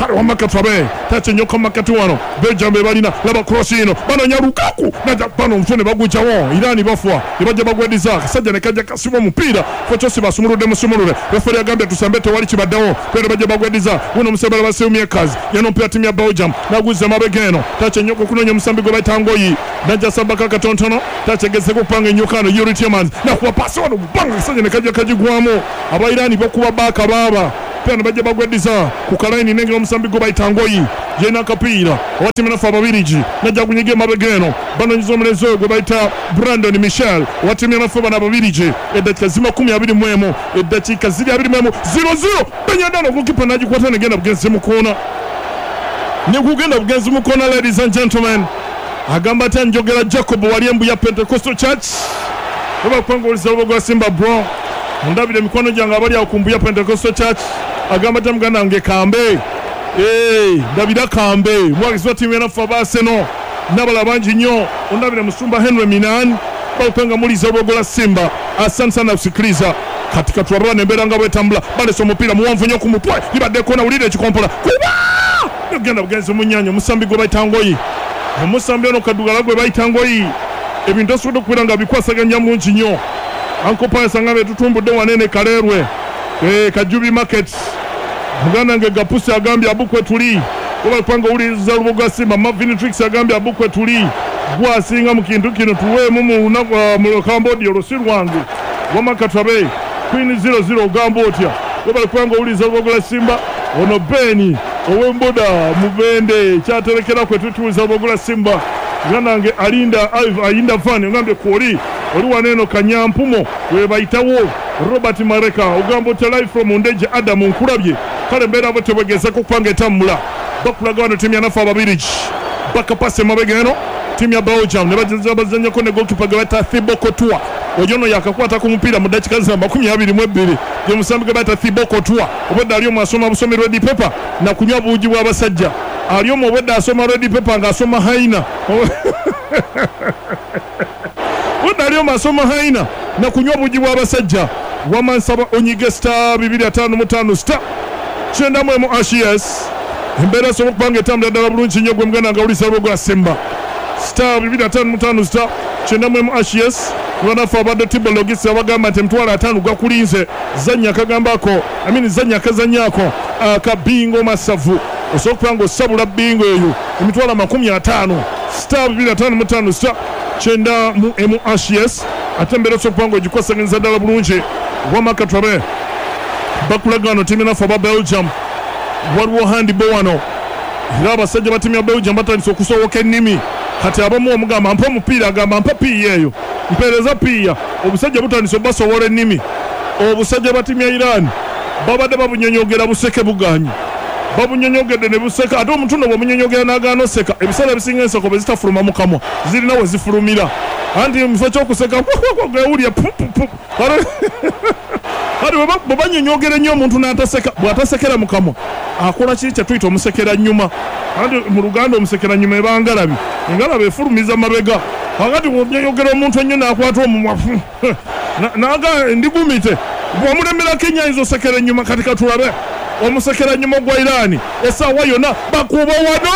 Kale wamma katulabe tacha ennyo makati wano Belgium be balina. Laba cross ino, banoonya Lukaku naja bano omutwe ne bagujjawo. Irani bafwa ne bajja bagwediza akasajja ne kajja kasiba omupiira Fochosi basumuludde musumulule. Referi agambye tusambe, tewali kibaddewo. Kwera bajja bagwediza guno omusambala basiumyekazi yano omupiira ttiimu ya Belgium naguza mabega eno. Tacha ennyo okunoonya omusambi gwe bayita Ngoyi, najja sambako akatonotono. Tacha egezeko okupanga ennyokano Yuri Tielemans nakuba pasi wano banga akasajja ne kajja kagigwamu. Abairani bakuba baaka baaba pia ne bajja bagwediza ku kalaini nengera omusambi gwe bayita Ngoyi yena akapiira owa nafe Ababirigi najja gunyiga emabega eno banonyiza omulenzi oyo gwe bayita Brandon Michel owa ttiimu yanafe bano Ababirigi. Eddakiika ziri 21, eddakiika ziri 21, 0-0. Benyadano gokipa nagikwata negenda bugenzi mu koona, nekugenda bugenzi mu koona. Ladies and gentlemen, agamba atya Njogera Jacob wali Embuya Pentecostal Church oba kupanga olusa gwa Simba bro ndabire emikono gyange abali awo ku Mbuya Pentecostal Church. Agamba atya muganda wange Kambe, ndabira Kambe mwagizi wa ttiimu yanaffe aba Arsenal n'abalala bangi nnyo. Ondabire musumba Henry Minan bakupanga muliza olwogola Simba. Asante sana kusikiliza katika tuwarane embeera nga bwetambula. Balesa omupiira muwanvu nnyo ku mutwe, libadde kona, wulira ekikompola kuba negenda bugenzi mu nnyanja. Omusambi gwe bayita Ngoyi, omusambi ono kaddugala gwe bayita Ngoyi, ebintu osobodde okubeera nga bikwasaganya bulungi nnyo. Ankopayasa nga betutumbudde wanene Kaleerwe Kajubi Market. Muganda nge Gapusi agambye abukwe tuli oba kupanga owuliriza Luboga Simba. Mavin Tricks agambye abukwe tuli gwasinga mu kintu kino tuweemu mu lunaku mu Cambodia olusi lwange wama katabe Queen 00 ogamba otya webale kubanga owuliriza Lubogola Simba. Ono Beni ow'emboda mubende kyaterekera kwe tutuuza Lubogola Simba. Muganda wange alinda ayinda van ogambye kwoli oli waneeno Kanyampumo webayitawo. Robert Mareka ogamba otya live from Ndeje Adamu nkulabye. Kale mbeera bo tebwegezeko okupanga etambula. Bakulaga wano ttiimu yanafe Ababirigi bakapasa emabega eno ttiimu ya Belgium ne bazanyako ne goalkeeper gwe bayita Thibaut Courtois. Oyo ono yakakwata ku mupiira mu ddakiika za 22 gye musambi gwe bayita Thibaut Courtois. Obwedda ali omu asoma busomi red paper na kunywa buugi bw'abasajja. Ali omu obwedda asoma red paper ng'asoma haina. Obwedda ali omu asoma haina na kunywa buugi bw'abasajja. Wamansaba onyige star 255 star 91 ashes. Embeera esobola okuba nga etambula ddala bulungi nnyo gwe muganda nga owuliriza Lubogola Simba. Star 255 star 91 ashes. Banafe abadde Tibologisi abagamba nti 50,000 gakulinze zannya akagambako amini zannya akazannyako akabingo masavu osobola okuba nga osabula bingo eyo 50,000 star 255 star 91 ashes. Ate embeera osobola okuba nga ogikwasaganyiza ddala bulungi. Wama katwabe bakulaga wano ttiimu yanafe aba Belgium waliwo handball wano era abasajja ba ttiimu ya Belgium batandise okusowoka ennimi. Kati abamu omugamba mpa omupiira agamba mpa piiya eyo mpeereza piiya. Obusajja butandise obasowola ennimi. Obusajja ba ttiimu ya Iran babadde babunyonyogera buseke buganyi, babunyonyogedde ne buseka. Ate omuntu nno bw'omunyonyogera n'agaana oseka, ebiseera ebisinga enseko bwe zitafuluma mu kamwa zirina we zifulumira. Anti mu kifo ky'okuseka gewulya pupupu. Kale bwe banyonyogera ennyo omuntu n'ataseka, bw'atasekera mu kamwa akola kiri kye tuyita omusekera nnyuma. Anti mu Luganda omusekera nnyuma eba ngalabi, engalabi efulumiza mabega. Kakati bw'onyonyogera omuntu ennyo n'akwata omumwa naga ndigumite, bw'omulemerako ennyo ayinza osekera ennyuma. Kati katulabe omusekera nnyuma ogwa Irani essaawa yonna bakuba wano.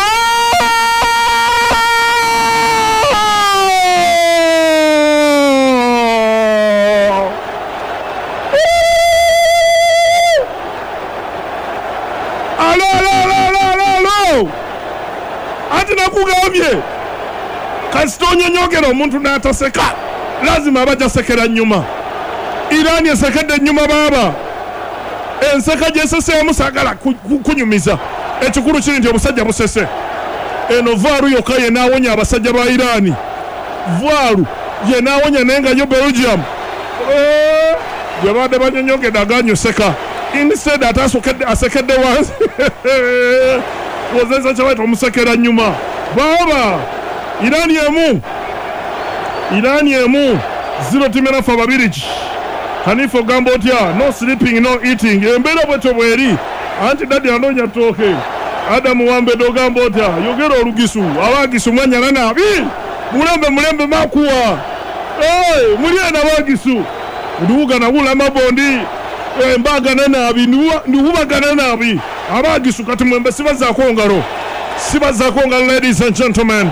Alo, alo, alo, alo, alo. Ati nakugambye kasita onyonyogera omuntu n'ataseka lazima aba ajasekera nnyuma. Irani esekedde ennyuma baaba. Enseka gyeseseemu saagala kunyumiza. Ekikulu kiri nti obusajja busese. Eno vaalu yokka yenaawonya abasajja ba Irani. Vaalu yenaawonya naye nga yo Belgium gwe babadde banyonyogedde aganyuseka. Instead ate asekedde wansi. Wozesa kye bayita omusekera nnyuma. Baaba Irani emu, Irani emu 0 ttiimu yanafe Ababirigi. Hanifa ogamba otya? No sleeping no eating. Embeera bwetyo bweri. Anti dadi anoonya ttooke. Adamu Wambedde ogamba otya? Yogera olugisu abagisu mwanyala nabi mulembe mulembe makuwa muli eno abagisu nduwuga nawula mabondi mbagana nabi ndiwubagana nabi. Abagisu kati mwembe sibazaako ngalo. Sibazaako ngalo, ladies and gentlemen.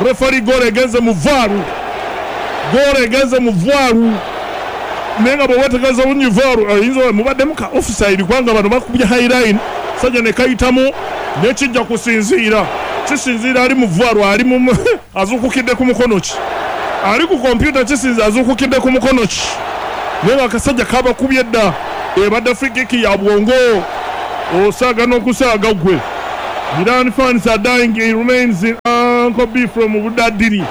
Referee, goal egenze mu VAR. Goal egenze mu VAR. Naye nga bwe weetegereza bulungi VAR ayinza mubaddemu ka offside, kubanga bano bakubye high line, sajja ne kayitamu, nekijja kusinziira, kisinziira ali mu VAR, ali mu azuukukidde ku mukono ki, ali ku kompyuta, kisinziira azuukukidde ku mukono ki. Naye nga akasajja kabakubye dda, ebadde free kick ya bwongo, osaaga n'okusaaga ggwe. Iran fans are dying. It remains in Uncle B from Budadiri.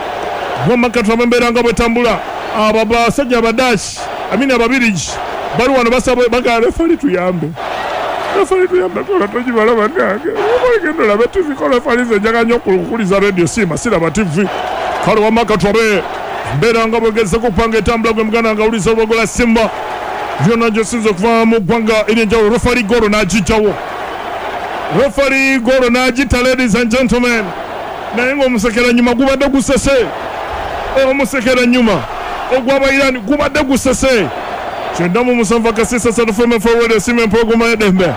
Wamma embeera nga bwetambula, abo basajja Abadashi, amini Ababirigi, bali wano basaba, bagala referee tuyambe, referee tuyambe, kola togibala bannange, genda olabe TV ko referee, nze njagala nnyo okukuliza radio, siima siraba TV. Kale wamma katwabe mbeera nga bwegezeko okupanga etambula, gwe muganda nga awuliza olwogola Simba byonna gyosinza okuva mu ggwanga ery'enjawulo. Referee, goolo n'agijjawo. Referee, goolo n'agita, ladies and gentlemen. Naye ng'omusekera nyuma gubadde gusese, omusekera nyuma ogw'Abairani gubadde gusese. 97 akasisa satu FM forward, esimu empologoma y'eddembe.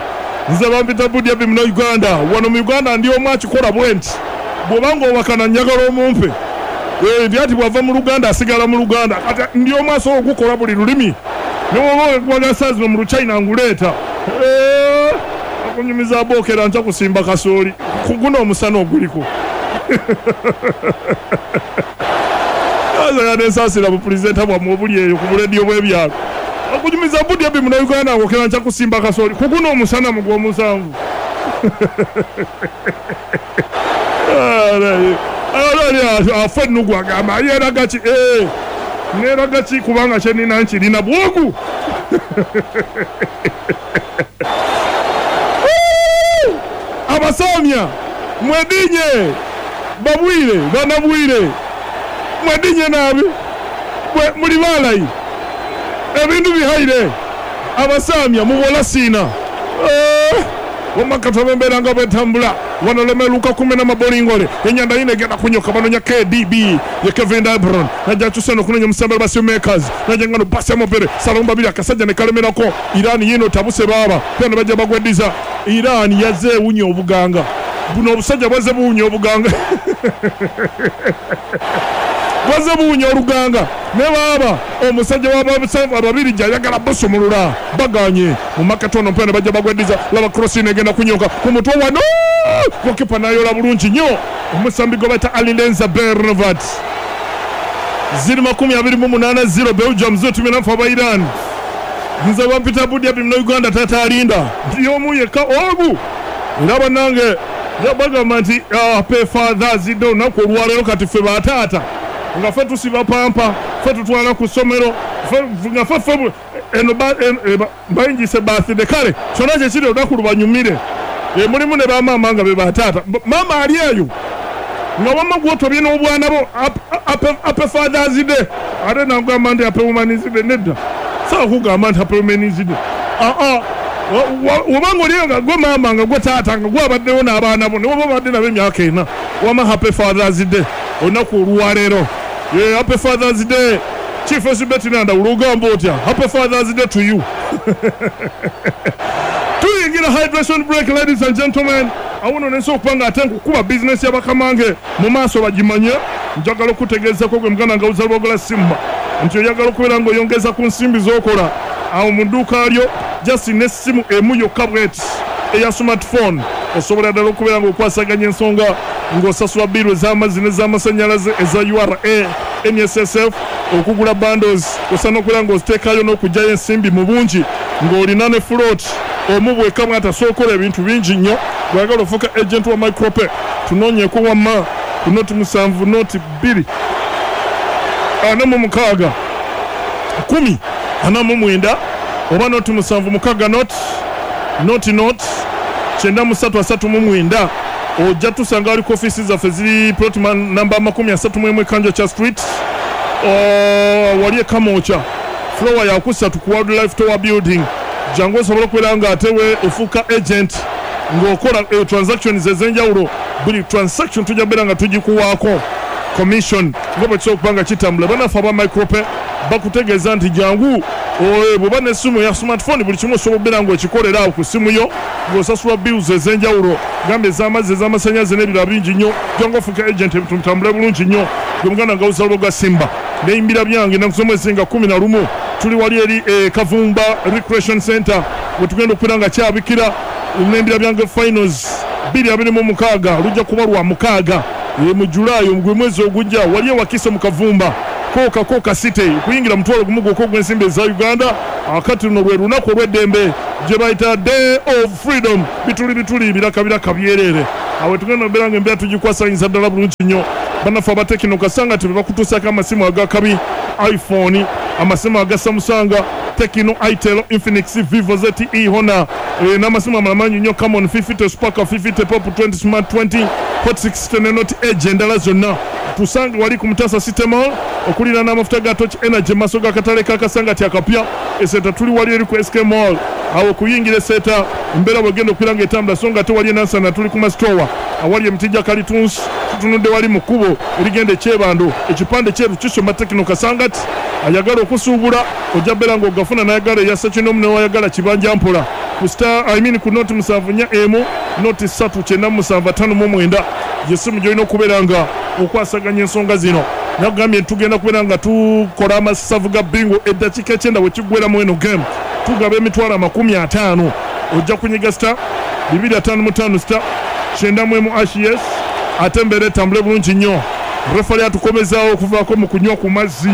Nze bampita Budyabi muno Uganda. Wano mu Uganda ndi omu akikola bwe nti, bw'obanga owakana njagala omumpe. Ndi ati bw'ava mu Luganda asigala mu Luganda. Kati ndi omu asobola okukola buli lulimi, newoba okubaga saa zino mu Luchina nguleeta. Okunyumiza bookera nja kusimba kasooli ku guno omusana oguliko. Azaga nensaasira bupulezidenta bwammwe obuli eyo ku bulediyo bw'ebyalo. Okunyumiza Budyabi muno Uganda, ngokera nja kusimba kasooli ku guno omusana mu gw'omusanvu. Ali afa ennugu, agamba yeeraga ki? Neeraga ki? Kubanga kyenina nkirina bwogu. Abasamya mwedinye, babwire banabwire, mwedinye nabi, muli balayi, ebintu bihaire. Abasamya mubola siina wamakataba embeera nga bwetambula wano. Lemeluka kumena mabolingole, enyanda yino egenda kunyoka, banonya KDB ye Kevin De Bruyne, najja akyusa nokunonya omusambi ba makers, najja ngano pasi amopere salomba biri, akasajja ne kalemerako. Iran yino tabuse baaba pia ne bajja bagweddiza. Iran yazze ewunya obuganga buno, obusajja bwazze buwunya obuganga, bwazze buwunya oluganga. Ne baaba omusajja w'ababiri gyayagala busumulula, baganye mu makatono mpena bajja bagweddiza. Laba cross ino egenda kunyoka ku mutwe wano, gokipa nayola bulungi nnyo, omusambi gwe bayita Alireza Beiranvand. Ziri 28, 0 Belgium, 0 tumi aba Iran. Nze bampita Budyabi muno Uganda, tata alinda nti omu yekka ogu. Era bannange bagamba nti happy Fathers Day, olunaku olwaleero. Kati ffe bataata nga ffe tusiba pampa, ffe tutwala ku ssomero, nga ffe ffe eno bayingise birthday. Kale kyonna kyekiri, olunaku lubanyumire. Mulimu ne bamaama nga be bataata. Maama ali eyo nga wamma gwotobye n'obwana bo, happy Fathers Day. Ate nagamba nti happy Women's Day, nedda, sawa kugamba nti happy Women's Day. Aa, wobanga oliyo nga gwe maama, nga gwe taata, nga gwe abaddewo n'abaana bo, ne woba obadde nabo emyaka 4, wama happy Fathers Day olunaku olwaleero. Happy Fathers Day. Chief Esibeti Nandawula, ogamba otya? Happy Fathers Day to you. Tuyingira hydration break, ladies and gentlemen. Awo nno nensobola okuba nga ate nkukuba bizinesi y'abakamange mu maaso bagimanye. Njagala okutegeezako gwe muganda nga uzalwagola Simba nti oyagala okubeera ng'oyongeza ku nsimbi z'okola awo mu dduuka lyo, just n'essimu emu yokka bweti eya smartphone, osobola ddala okubeera ng'okwasaganya ensonga, ng'osasula bill ez'amazzi n'ez'amasannyalaze, eza URA, NSSF, okugula bundles, osaana okubeera ng'oziteekayo n'okugyayo ensimbi mu bungi ng'olina ne float omu bwekka bwati asobola okukola ebintu bingi nnyo. Bw'oyagala ofuuka agent wa Micropay, tunoonyeeko wamma ku 0 7 0 2 46 10 49 oba 0 76 0 0 0 93 39. Ojja tusanga ali ku ofiisi zaffe, ziri plot namba 31 Kanjokya Street, wali e Kamwokya, floor yakusatu ku World Life Tower building. Jangu osobole okubeera nga ate we ofuuka agent ng'okola transactions ez'enjawulo. Buli transaction tujja kubeera nga tugikuwaako commission nga bwe kisobola okuba nga kitambula. Bannaffe aba Micropay bakutegeeza nti jangu. Bw'oba n'essimu ya smartphone, buli kimu osobola okubeera ng'okikolera awo ku ssimu yo, ng'osasula bills ez'enjawulo, gamba ez'amazzi, ez'amasannyalaze n'ebirala bingi nnyo. Jangu ofuuke agent, ebintu bitambule bulungi nnyo. Gwe muganda nga Uzalwa gwa Simba neyimbira byange ennaku z'omwezi nga 11, tuli wali eri e Kavumba Recreation Center wetugenda okubeera nga kyabikira nembira byange finals 2026. Lujja kuba lwa mukaaga mu July, gwe mwezi ogujja, wali e Wakiso mu Kavumba Kooka Kooka City. Kuyingira 10,000 gwokka ogw'ensimbi eza Uganda. Akati luno lwe lunaku olw'eddembe gye bayita Day of Freedom. Bituli bituli, biraka biraka byereere. Awe tugenda okubeera nga embeera tugikwasanyiza ddala bulungi nnyo. Bannaffe aba Tecno kasanga nti be bakutuusaako amasimu agakabi, iPhone, amasimu aga Samsung, Tecno, Itel, Infinix, Vivo, ZTE, Honor, n'amasimu amalala mangi nnyo, Camon 50, Spark 50, Pop 20, Smart 20, Hot 60 ne Note Edge endala zonna. Tusange wali ku Mutasa City Mall okuliraana amafuta ga Torch Energy, mu maaso g'akatale ka Kasangati akapya. Eseta tuli wali eri ku SK Mall, awo okuyingira Eseta, embeera bwegenda okubeera ng'etambula. So nga ate wali e Nansana tuli ku masitowa awali emiti gya kalitunsi, tutunudde wali mu kkubo erigenda e Kyebando, ekipande kyeru kisoma Tecno Kasangati. Ayagala okusuubula ojja beera ng'ogafuna, n'ayagala eya ssekinomu n'ayagala kibanja mpola ku star, I mean ku noti 741 noti 3 97 59, yessimu gy'olina okubeera nga okwasaganya ensonga zino. Nakugambye nti tugenda kubeera nga tukola amasavu ga bingo. Eddakiika 9 bwe kiggweramu eno game, tugaba 50,000. Ojja kunyiga star 255 star 91 hash, yes, ate embeera etambule bulungi nnyo. Refali atukomezaawo okuvaako mu kunywa ku mazzi.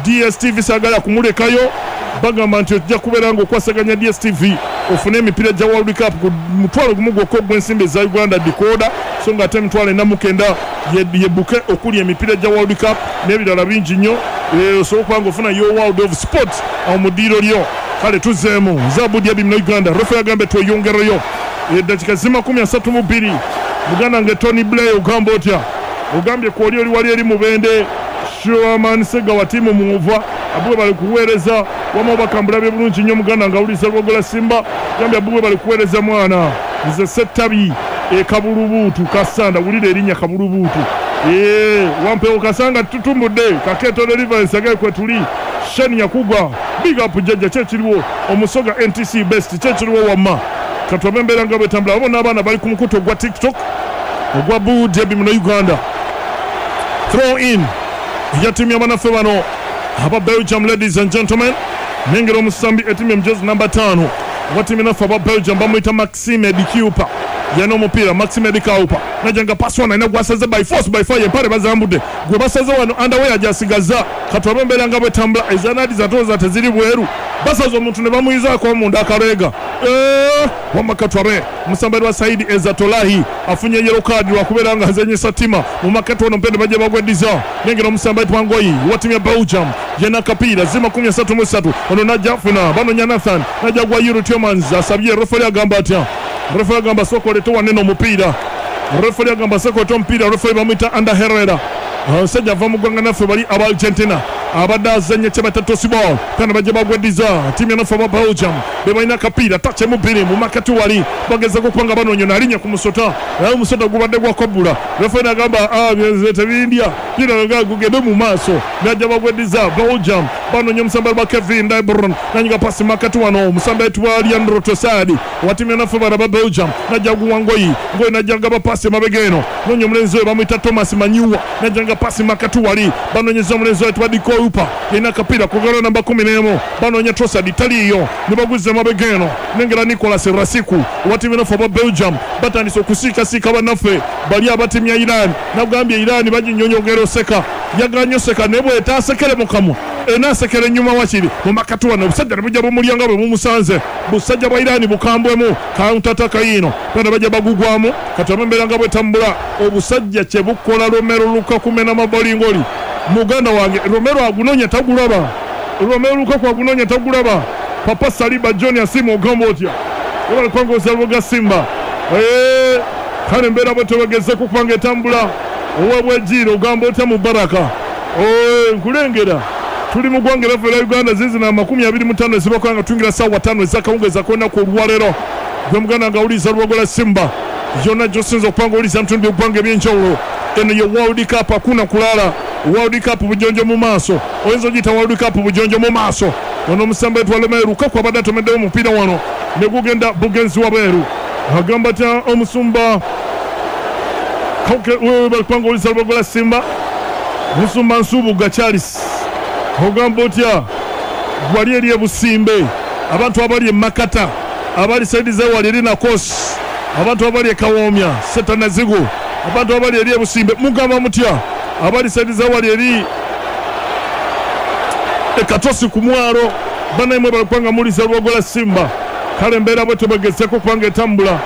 DStv saagala kumulekayo. Bagamba nti ojja kubeera nga okwasaganya DStv ofune emipiira gya World Cup ku 10,000 gwokka ogw'ensimbi eza Uganda decoder, so nga ate 49,000 ye bouquet okuli emipiira gya World Cup n'ebirala bingi nnyo. Osobola okuba nga ofuna your world of sport awo mu ddiiro lyo. Kale tuzzeemu nze Abudi Abi muno Uganda. Refa yagambye tweyongereyo eddakiika zi 32. Muganda nge Tony Blair, ogamba otya? Ogambye kwoli oli wali eri Mubende, Sherman Segawa, tiimu Mwova, abubwe bali kuweereza wama bakambulabye bulungi nnyo. Muganda nga awuliriza Lwogola Simba, gambye abubwe bali kuweereza mwana. Nze Settabi e Kabulubuutu Kasanda, wulira erinnya Kabulubuutu. Wampewo Kasanga tutumbudde Kakeeto Deliverance agaye kwe tuli. Shen Yakugwa, big up jjajja, kyekiriwo omusoga NTC best, kyekiriwo wamma. Katwabe embeera nga bwetambula. Abo n'abaana bali ku mukutu ogwa TikTok ogwa Budebi muno Uganda. Throw in eya ttiimu y'abanaffe bano aba Belgium. Ladies and gentlemen, nengera omusambi ettiimu emujezi namba 5 owa ttiimu naffe aba Belgium, bamuyita Maxime De Cuyper, yalina omupiira. Maxime De Cuyper najja nga pasi wano alina gwasaze by force by fire, empale bazambudde, gwe basaze wano underwear gyasigaza. Katwabe embeera nga bwetambula. Ezanadi zatooza teziri bweru, basaze omuntu ne bamuyizaako munda akaleega. Wamma katwabe omusambi wa Saidi Ezatolahi afunye yellow card lwakubeera nga azanyisa tima mu makati wano. Mpende bajja bagweddiza. Nengera omusambi ayitibwa Ngoyi wa ttiimu ya Belgium, yena akapiira zi 33. Ono najja afuna, banonya Nathan, najja gwa Youri Tielemans, asabye. Referi agamba atya? Referi agamba sooka olete wanene omupiira. Referi agamba sooka olete omupiira. Referi bamuyita Ander Herrera, omusajja ava mu ggwanga naffe bali aba Argentina, abadde azanya kye bata toss ball. Kana bajja bagweddiza. Ttiimu yanaffe aba Belgium be balina akapiira, touch mubiri mu makati wali bagezako okuba nga banoonya naalinnya ku musota, naye omusota gubadde gwakwabbula. Referi nagamba tebindya pira, gugende mu maaso. Najja bagweddiza. Belgium banoonya omusambi wa Kevin De Bruyne, nanyiga pasi makati wano, omusambi ayitibwa Leandro Trossard wa ttiimu yanaffe bano aba Belgium, najja guwa Ngoyi. Ngoyi najja gaba pasi emabega eno, noonya omulenzi oyo bamuyita Thomas Meunier, najja nga pasi makati wali, banoonyeza omulenzi oyo ayitibwa De Cuyper, yalina akapiira kugala namba 11, banoonya Trossard, taliiyo, ne baguzza emabega eno. Nengera Nicolas Rasiku owa ttiimu yanaffe aba Belgium. Batandise okusiikasiika bannaffe bali aba ttiimu ya Iran. Nagambye Iran baginyonyogera oseka, yaganye oseka, naye bwetaasekere mu kamwa enaasekera ennyuma. Wakiri mu makati wano obusajja ne bujja bumulya nga bwe bumusanze. Busajja bwa Iran bukambwemu, counter attack yiino, bana bajja bagugwamu. Kati aba embeera nga bwetambula, obusajja kye bukola Romelu Lukaku mena mabolingoli. Muganda wange Romelu agunoonya tagulaba, Romelu Lukaku agunoonya tagulaba. Papa Saliba John Asimu, ogamba otya? Webale kwangoza Lwoga Simba. Kale embeera bwe tebagezeko okuba nga etambula. Owebwejiiro, ogamba otya mu Baraka? Nkulengera tuli mu ggwanga eraffe erya Uganda. Zizina 25 ezibakola nga tuyingira saawa 5 ezakawungeezi ak'olunaku olwaleero. Gwe muganda nga awuliriza Lwogola Simba, yonna gy'osinza okuba nga owuliriza mu bitundu by'eggwanga eby'enjawulo, eno ye World Cup, hakuna kulala. World Cup bujonjo mu maaso, oyinza ogiyita World Cup bujonjo mu maaso. Ono omusambi ayitibwa Romelu Lukaku abadde atomeddewo omupiira wano ne gugenda bugenzi wabweru. Agamba atya omusumba Wewe owuliriza Lubogola Simba, Musumba Nsubuga Charles, ogamba otya wali eri e Busimbe, abantu abali e Makata, abali saidi zewali eri Nakosi, abantu abali e Kawoomya, Setanazigu, abantu abali eri e Busimbe, mugamba mutya abali saidi zewali eri e Katosi ku mwalo, banaimwe bali kubanga muwuliriza Lubogola Simba. Kale embeera bwetyo bwegezeeko okubanga etambula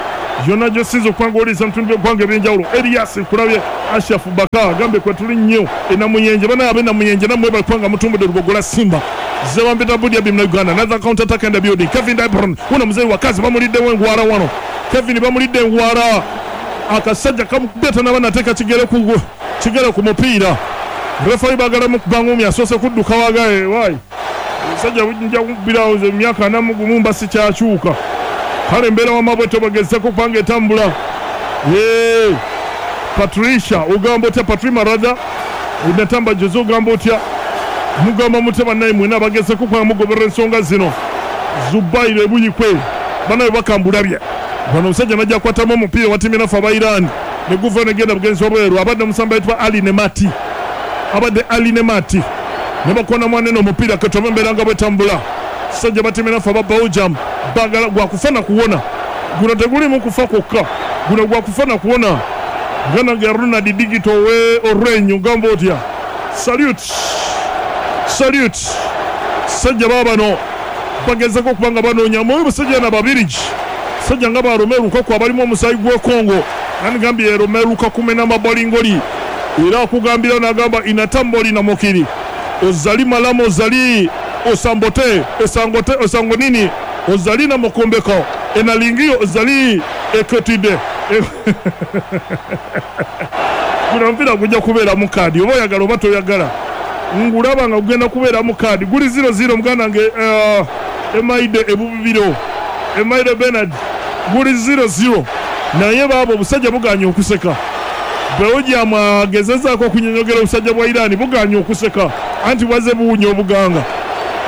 yonna gy'osinza okuba nga owuliriza mu bitundu by'eggwanga eby'enjawulo. Erias nkulabye, Ashraf Baka agambye kwetuli nnyo e Namuyenje. Banaye ab'e Namuyenje nammwe mwebale kuba nga mutumbudde Lubogola Simba. Nze bampita Budi Abim na Uganda. Another counter attack in the building. Kevin De Bruyne wuno muzeeyi wa kazi bamuliddewo engwara wano. Kevin bamulidde engwara. Akasajja kamukubye tanaba nateeka kigere ku kigere ku mupiira. Referee baagala mukuba ngumi asoose kudduka wagaye why? Obusajja bujja kubbirawo nze emyaka 41 mba sikyakyuka. Kale embeera wamma bwetyo bwegezeko okuba nga etambula. Yee Patricia ogamba otya Patrima rather Natamba Jose ogamba otya mugamba mutya bannaye mwena abagezeko okuba nga mugoberera ensonga zino. Zubair Ebuyikwe bannaye obubaka mbulabye. Wano omusajja najja akwatamu omupiira wa ttiimu enaffe aba Iran ne guvayo ne genda bugenzi wabweru. Abadde omusambi ayitibwa Ali Nemati abadde Ali Nemati ne bakona mwanene omupiira katobe embeera nga bwetambula. Sajja battiimu enaffe aba Belgium baagala gwa kufa na kuwona. Guno teguliimu kufa kwokka, guno gwa kufa na kuwona. Muganda wange Ronald Digito owe Orange ogamba otya? Salute, salute. Sajja baabano bagezaako okuba nga banoonya mu basajja na Babirigi, basajja nga ba Romelu Lukaku abalimu omusaayi gw'e Congo. Nandikambye Romelu Lukaku mena mabolingoli era akugambirawo n'agamba inatamboli na mokiri ozali malamu ozali osambote esangote osango nini ozali na mokombeko enalingiyo ozali ekotide. Guno omupiira gujja kubeeramu kaadi oba oyagala oba toyagala. Ngulaba nga gugenda kubeeramu kaadi. Guli ziro ziro muganda wange Emaide e Bubibiro. Emaide Bernard. Guli ziro ziro. Naye baaba obusajja bugaanye okuseka. Belgium agezezaako okunyonyogera obusajja bwa Iran bugaanye okuseka. Anti bwazze buwunya obuganga.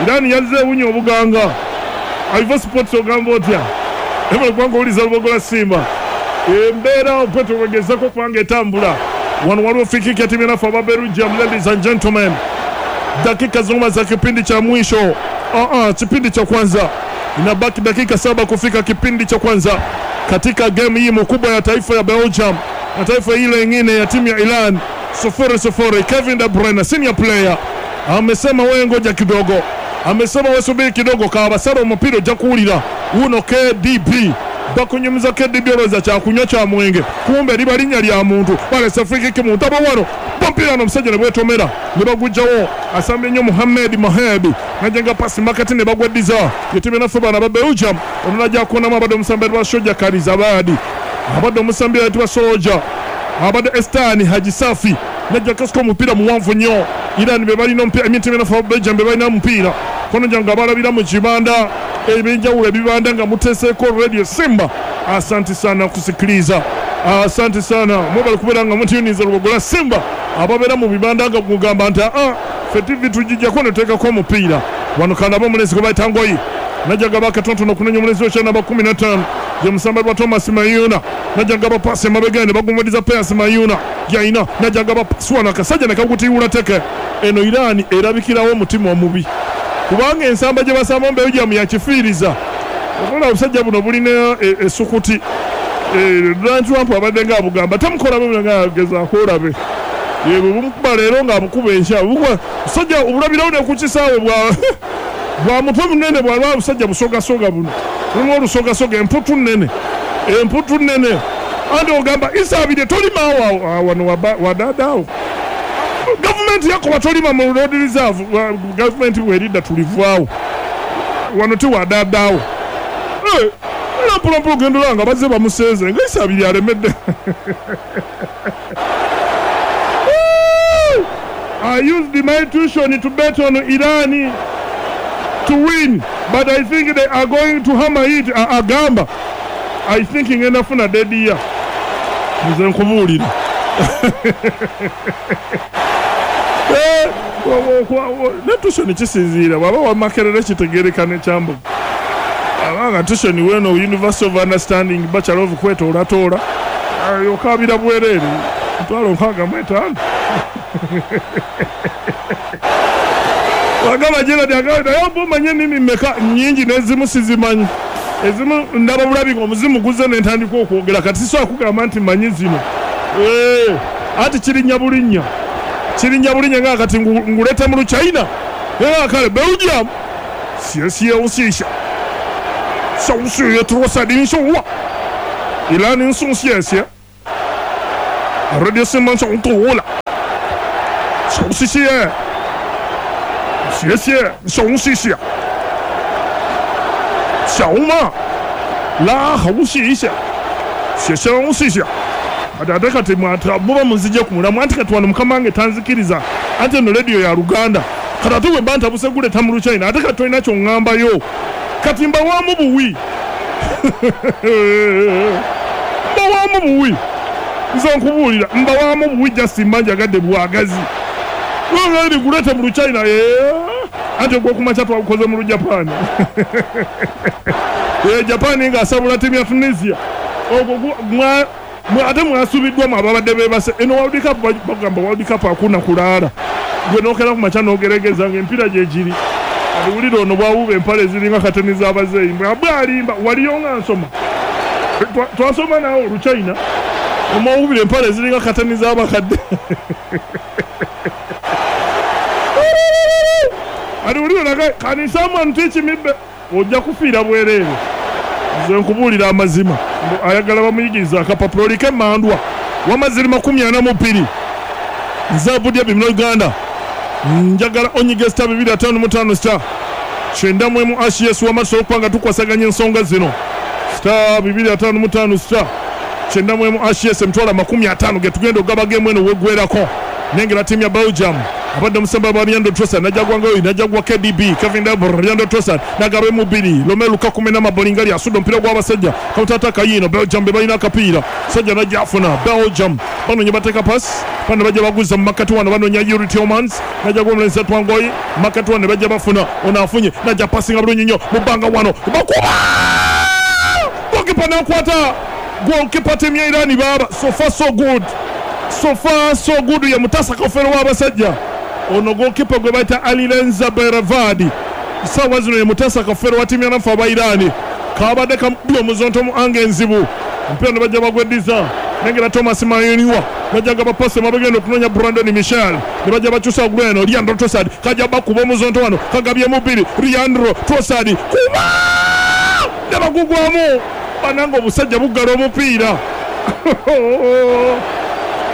Iran yazze ewunya obuganga. Ivo Sports ogamba otya? Webale kubanga owuliza Lubogola Simba. Embeera bwetyo bwegezako okuba nga etambula. Wano waliwo free kick ya timu yanafe aba Belgium, ladies and gentlemen. Dakika zoma za kipindi cha mwisho. Kipindi cha kwanza. Inabaki dakika 7 kufika kipindi cha kwanza katika game hii mkubwa ya taifa ya Belgium na taifa ile nyingine ya timu ya Iran. 0-0. Kevin De Bruyne senior player amesema wewe ngoja kidogo. Amesema wewe subiri kidogo kabasara omupiira ojja kuwulira. Wuno KDB bakunyumiza KDB olowooza kyakunywa kya mwenge kumbe liba linnya lya muntu. Balese free kick mu ntabo wano omupiira no omusajja ne bwetomera ne bagujjawo. Asambye nnyo Mohamed Mohamed najenga pasi makati ne bagweddiza yetimu naffe bana ba Belgium. Ono najja kuonamu abadde omusambi ayitibwa Soja Karizabadi, abadde omusambi ayitibwa Soja, abadde Estani Haji Safi najja kasika omupiira muwanvu nnyo. Iran be balina omupiira, emitimu naffe aba Belgium be balina omupiira. Kono jangu abalabira mu kibanda ebyenjawulo ebibanda nga muteeseeko Radio Simba. Asante sana kusikiliza, asante sana mwebale kubeera nga mutuyuniza Lubogola Simba. Ababeera mu bibanda nga mugamba nti ffe TV tugijjako ne tuteekako omupiira. Wano kandabe omulenzi gwe bayita Ngoyi najja gaba akatonotono okunoonya omulenzi w'ekyana namba 15 ye musamba lwa Thomas Mayuna najja gaba paasi emabega ne bagumuliriza Pius Mayuna yalina najja gaba paasi wano akasajja ne kagutiiwula teke. Eno Iran erabikirawo omutima omubi kubanga ensamba gye basamba mu Belgium yakifiiriza. Okola obusajja buno bulina esukuti. Donald Trump abadde nga abugamba temukola bwe nga agezaako olabe. Bwe bumukuba leero ng'abukuba enkya. Obusajja obulabirawo ne ku kisaawe bwa mutwe munene bwalwa busajja busogasoga buno. Mulimu olusogasoga emputu nnene. Emputu nnene. Anti ogamba Isaabirye tolima awo wano wadaadaawo. Gavumenti yakoba tolima mu road reserve. Gavumenti bw'eridda tulivaawo. Wano ti wadaadaawo. Mpola ogenda olaba nga bazze bamusenze nga Isaabirye alemedde. I used my tuition to bet on Iran to win, but I think they are going to hammer it. Agamba I think ngenda funa dead year. Nze nkubuulira. Ne tuition kisinziira bw'aba wa Makerere kitegeereka ne Kyambogo. Abanga tuition weno University of Understanding Bachelor of kwetoolatola okaabira bwereere 650,000. Wagamba Gerald agamba naye oba omanye ennimi mmeka nnyingi n'ezimu sizimanyi. Ezimu ndaba bulabi ng'omuzimu guzze ne ntandika okwogera kati sisobola kugamba nti mmanyi zino. Anti kirinnya bulinnya. Kirinnya bulinnya nga kati nguleete mu Luchina. Kale Belgium. 谢谢小雪 Trossard inshallah. Iran 送谢谢。Radio Simba ntowola. 谢谢。谢谢，小谢。小马拉好谢谢。谢谢谢谢。Ate kati muba munzije ku mulamwa anti kati wano mukama wange tanzikiriza ate eno radio ya Luganda kati ate bwe mba ntabuse guleeta mu Luchina ate kati tolina ky'oŋŋambayo kati mbawaamu buwi mbawaamu buwi nze nkubuulira mbawaamu buwi just mba njagadde bwagazi eri guleete mu Luchina anti ogw'okumakya twagukoze mu Lujapaani Japaani ng'asabula ttiimu ya Tunisia ogwo ate mwasubiddwa mu ababadde beebase eno World Cup bagamba World Cup hakuna kulaala gwe n'okera ku makya n'ogeregeza ng'empiira gye giri aliwulira ono bwawuba empale eziringa kateni z'abazeeyi bwalimba waliyo nga nsoma twasoma naawe Oluchina omwawubira empale eziringa kateni z'abakadde aliwulira naga can someone teach me ojja kufiira bwereere. Nze nkubuulira amazima ayagala bamuyigiriza akapapula oliko emmandwa wamaziri 42 nze Abudya bimino Uganda njagala onyige star 255 star 91 ashes wamaso okupanga tukwasaganya ensonga zino star 255 star 91 ashes emitwalo 50 ge tugenda ogaba game eno weggwerako. Nengera timu ya Belgium abadde omusamba wa Leandro Trossard najja gwangayo najja gwa KDB Kevin De Bruyne Leandro Trossard nagabe mubiri Romelu Lukaku mena mabolingali asudde omupiira gw'abasajja counter kayino Belgium be balina akapiira sajja najja afuna Belgium banoonya bateeka pass bano bajja baguza mu makati wano banoonya Yuri Tielemans najja gwa omulenzi Twangoyi makati wano bajja bafuna ono afunye najja passinga bulungi nnyo mu bbanga wano bakuba goalkeeper n'akwata goalkeeper tiimu ya Iran baaba so far so good. So far so good ya Mutasa Kofero w'abasajja ono goalkeeper gwe bayita Alirenza Beravadi sawa zino ye Mutasa Kofero wa timu ya nafa aba Irani kabadde kamubbi omuzonto mu ange enzibu omupiira ne bajja bagweddiza nengera Thomas Mayoniwa bajja nga bapase mabegenda okunoonya Brandon Michel ne bajja bakyusa gweno Leandro Trossard kajja bakuba omuzonto wano kagabyemu bbiri Leandro Trossard kuba ne bagugwamu bananga obusajja buggala omupiira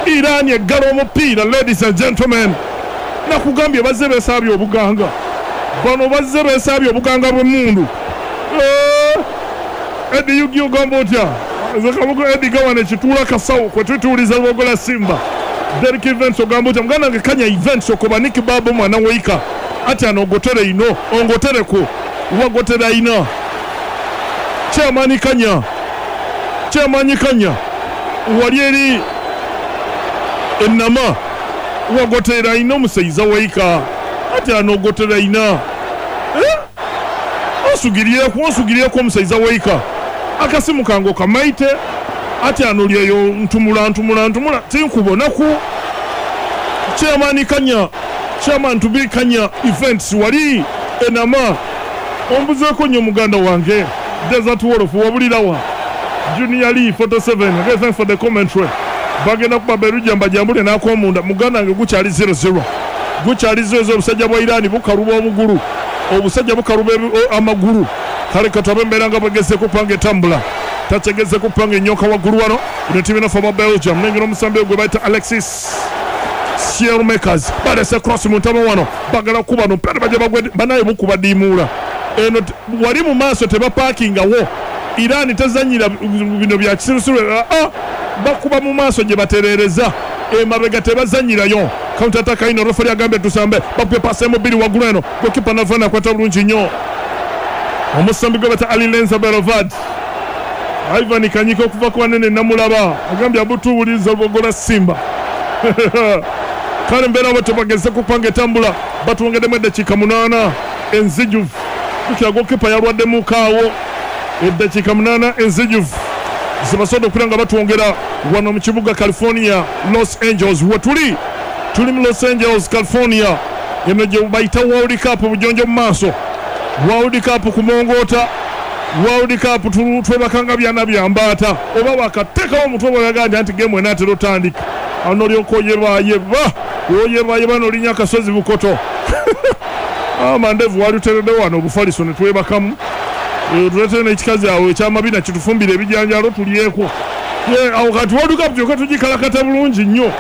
Iran eggala omupiira ladies and gentlemen. Nakugambye bazze beesaabye obuganga bano bazze beesaabye obuganga bw'emmundu. Eddie Yugi ogamba otya nze Kabugo Eddie gawana ekituula kasawo kwe tutuuliza Lwogola Simba. Derek Events ogamba otya muganda wange Kanya Events okoba Nick Babo mwana weika ati ano ogotere ino ongotereko wagotera ina Chairman Kanya Chairman Kanya wali eri enama wagotera ina omusaiza weika ati ano ogotera ina osugirieko omusaiza weika akasimu kange okamaite ati ano lyeyo ntumula tinkubonaku Chairman Kanya Chairman to be Kanya Events wali enama ombuzeeko nnyo muganda wange Desert Wolf wabulirawa Junior Lee 47 okay, thanks for the commentary. Bagenda kuba Belgium bajambule n'akomunda muganda wange gukyali 0-0 gukyali 0-0 obusajja bwa Iran bukaluba omugulu obusajja bukaluba amagulu kale katabe embeera nga bwegezeko kupanga etambula takyegeze kupanga enyoka waggulu wano ino ttiimu enofa ba Belgium nengera omusambi gwe bayita Alexis Siermakers balese cross mu ntama wano bagala kuba no pera bajja bagwe banaye bukuba diimuula eno wali mu maaso tebapaakingawo Iran tezanyira bino bya kisirusiru bakuba mu maaso gye batereereza emabega tebazanyirayo counter attack ino referee agambye tusambe bakubye pass emu bbiri waggulu eno goalkeeper nava nakwata bulungi nnyo omusambi gwe bayita Alirenza Berovad Ivan Kanyika okuva ku banene namulaba agambye abutuwuliriza Lwogola Simba Kale mbeera abo tebageze kupanga etambula, batwongeddemu eddakiika 8 enzijuvu. Jjukira gokipa yalwaddemu kaawo. Eddakiika 8 enzijuvu zibasobodde okubeera nga batwongera wano mu kibuga California, Los Angeles. Wetuli tuli mu Los Angeles, California, eno gye bayita World Cup bujonjo mu maaso, World Cup kumongoota, World Cup twebakanga byana bya mbaata oba wakateekawo omutwe bw'oyaga nti anti geemu enaatera otandika, awo n'olyoka oyebaayeba oyebaayeba n'olinya akasozi Bukoto. Amandevu wali utereddewo wano obufaliso ne twebakamu, tuleetere n'ekikazi awo ekyamabina kitufumbire ebijanjaalo tulyeko. Awo kati World Cup kyokka tugikalakata bulungi nnyo.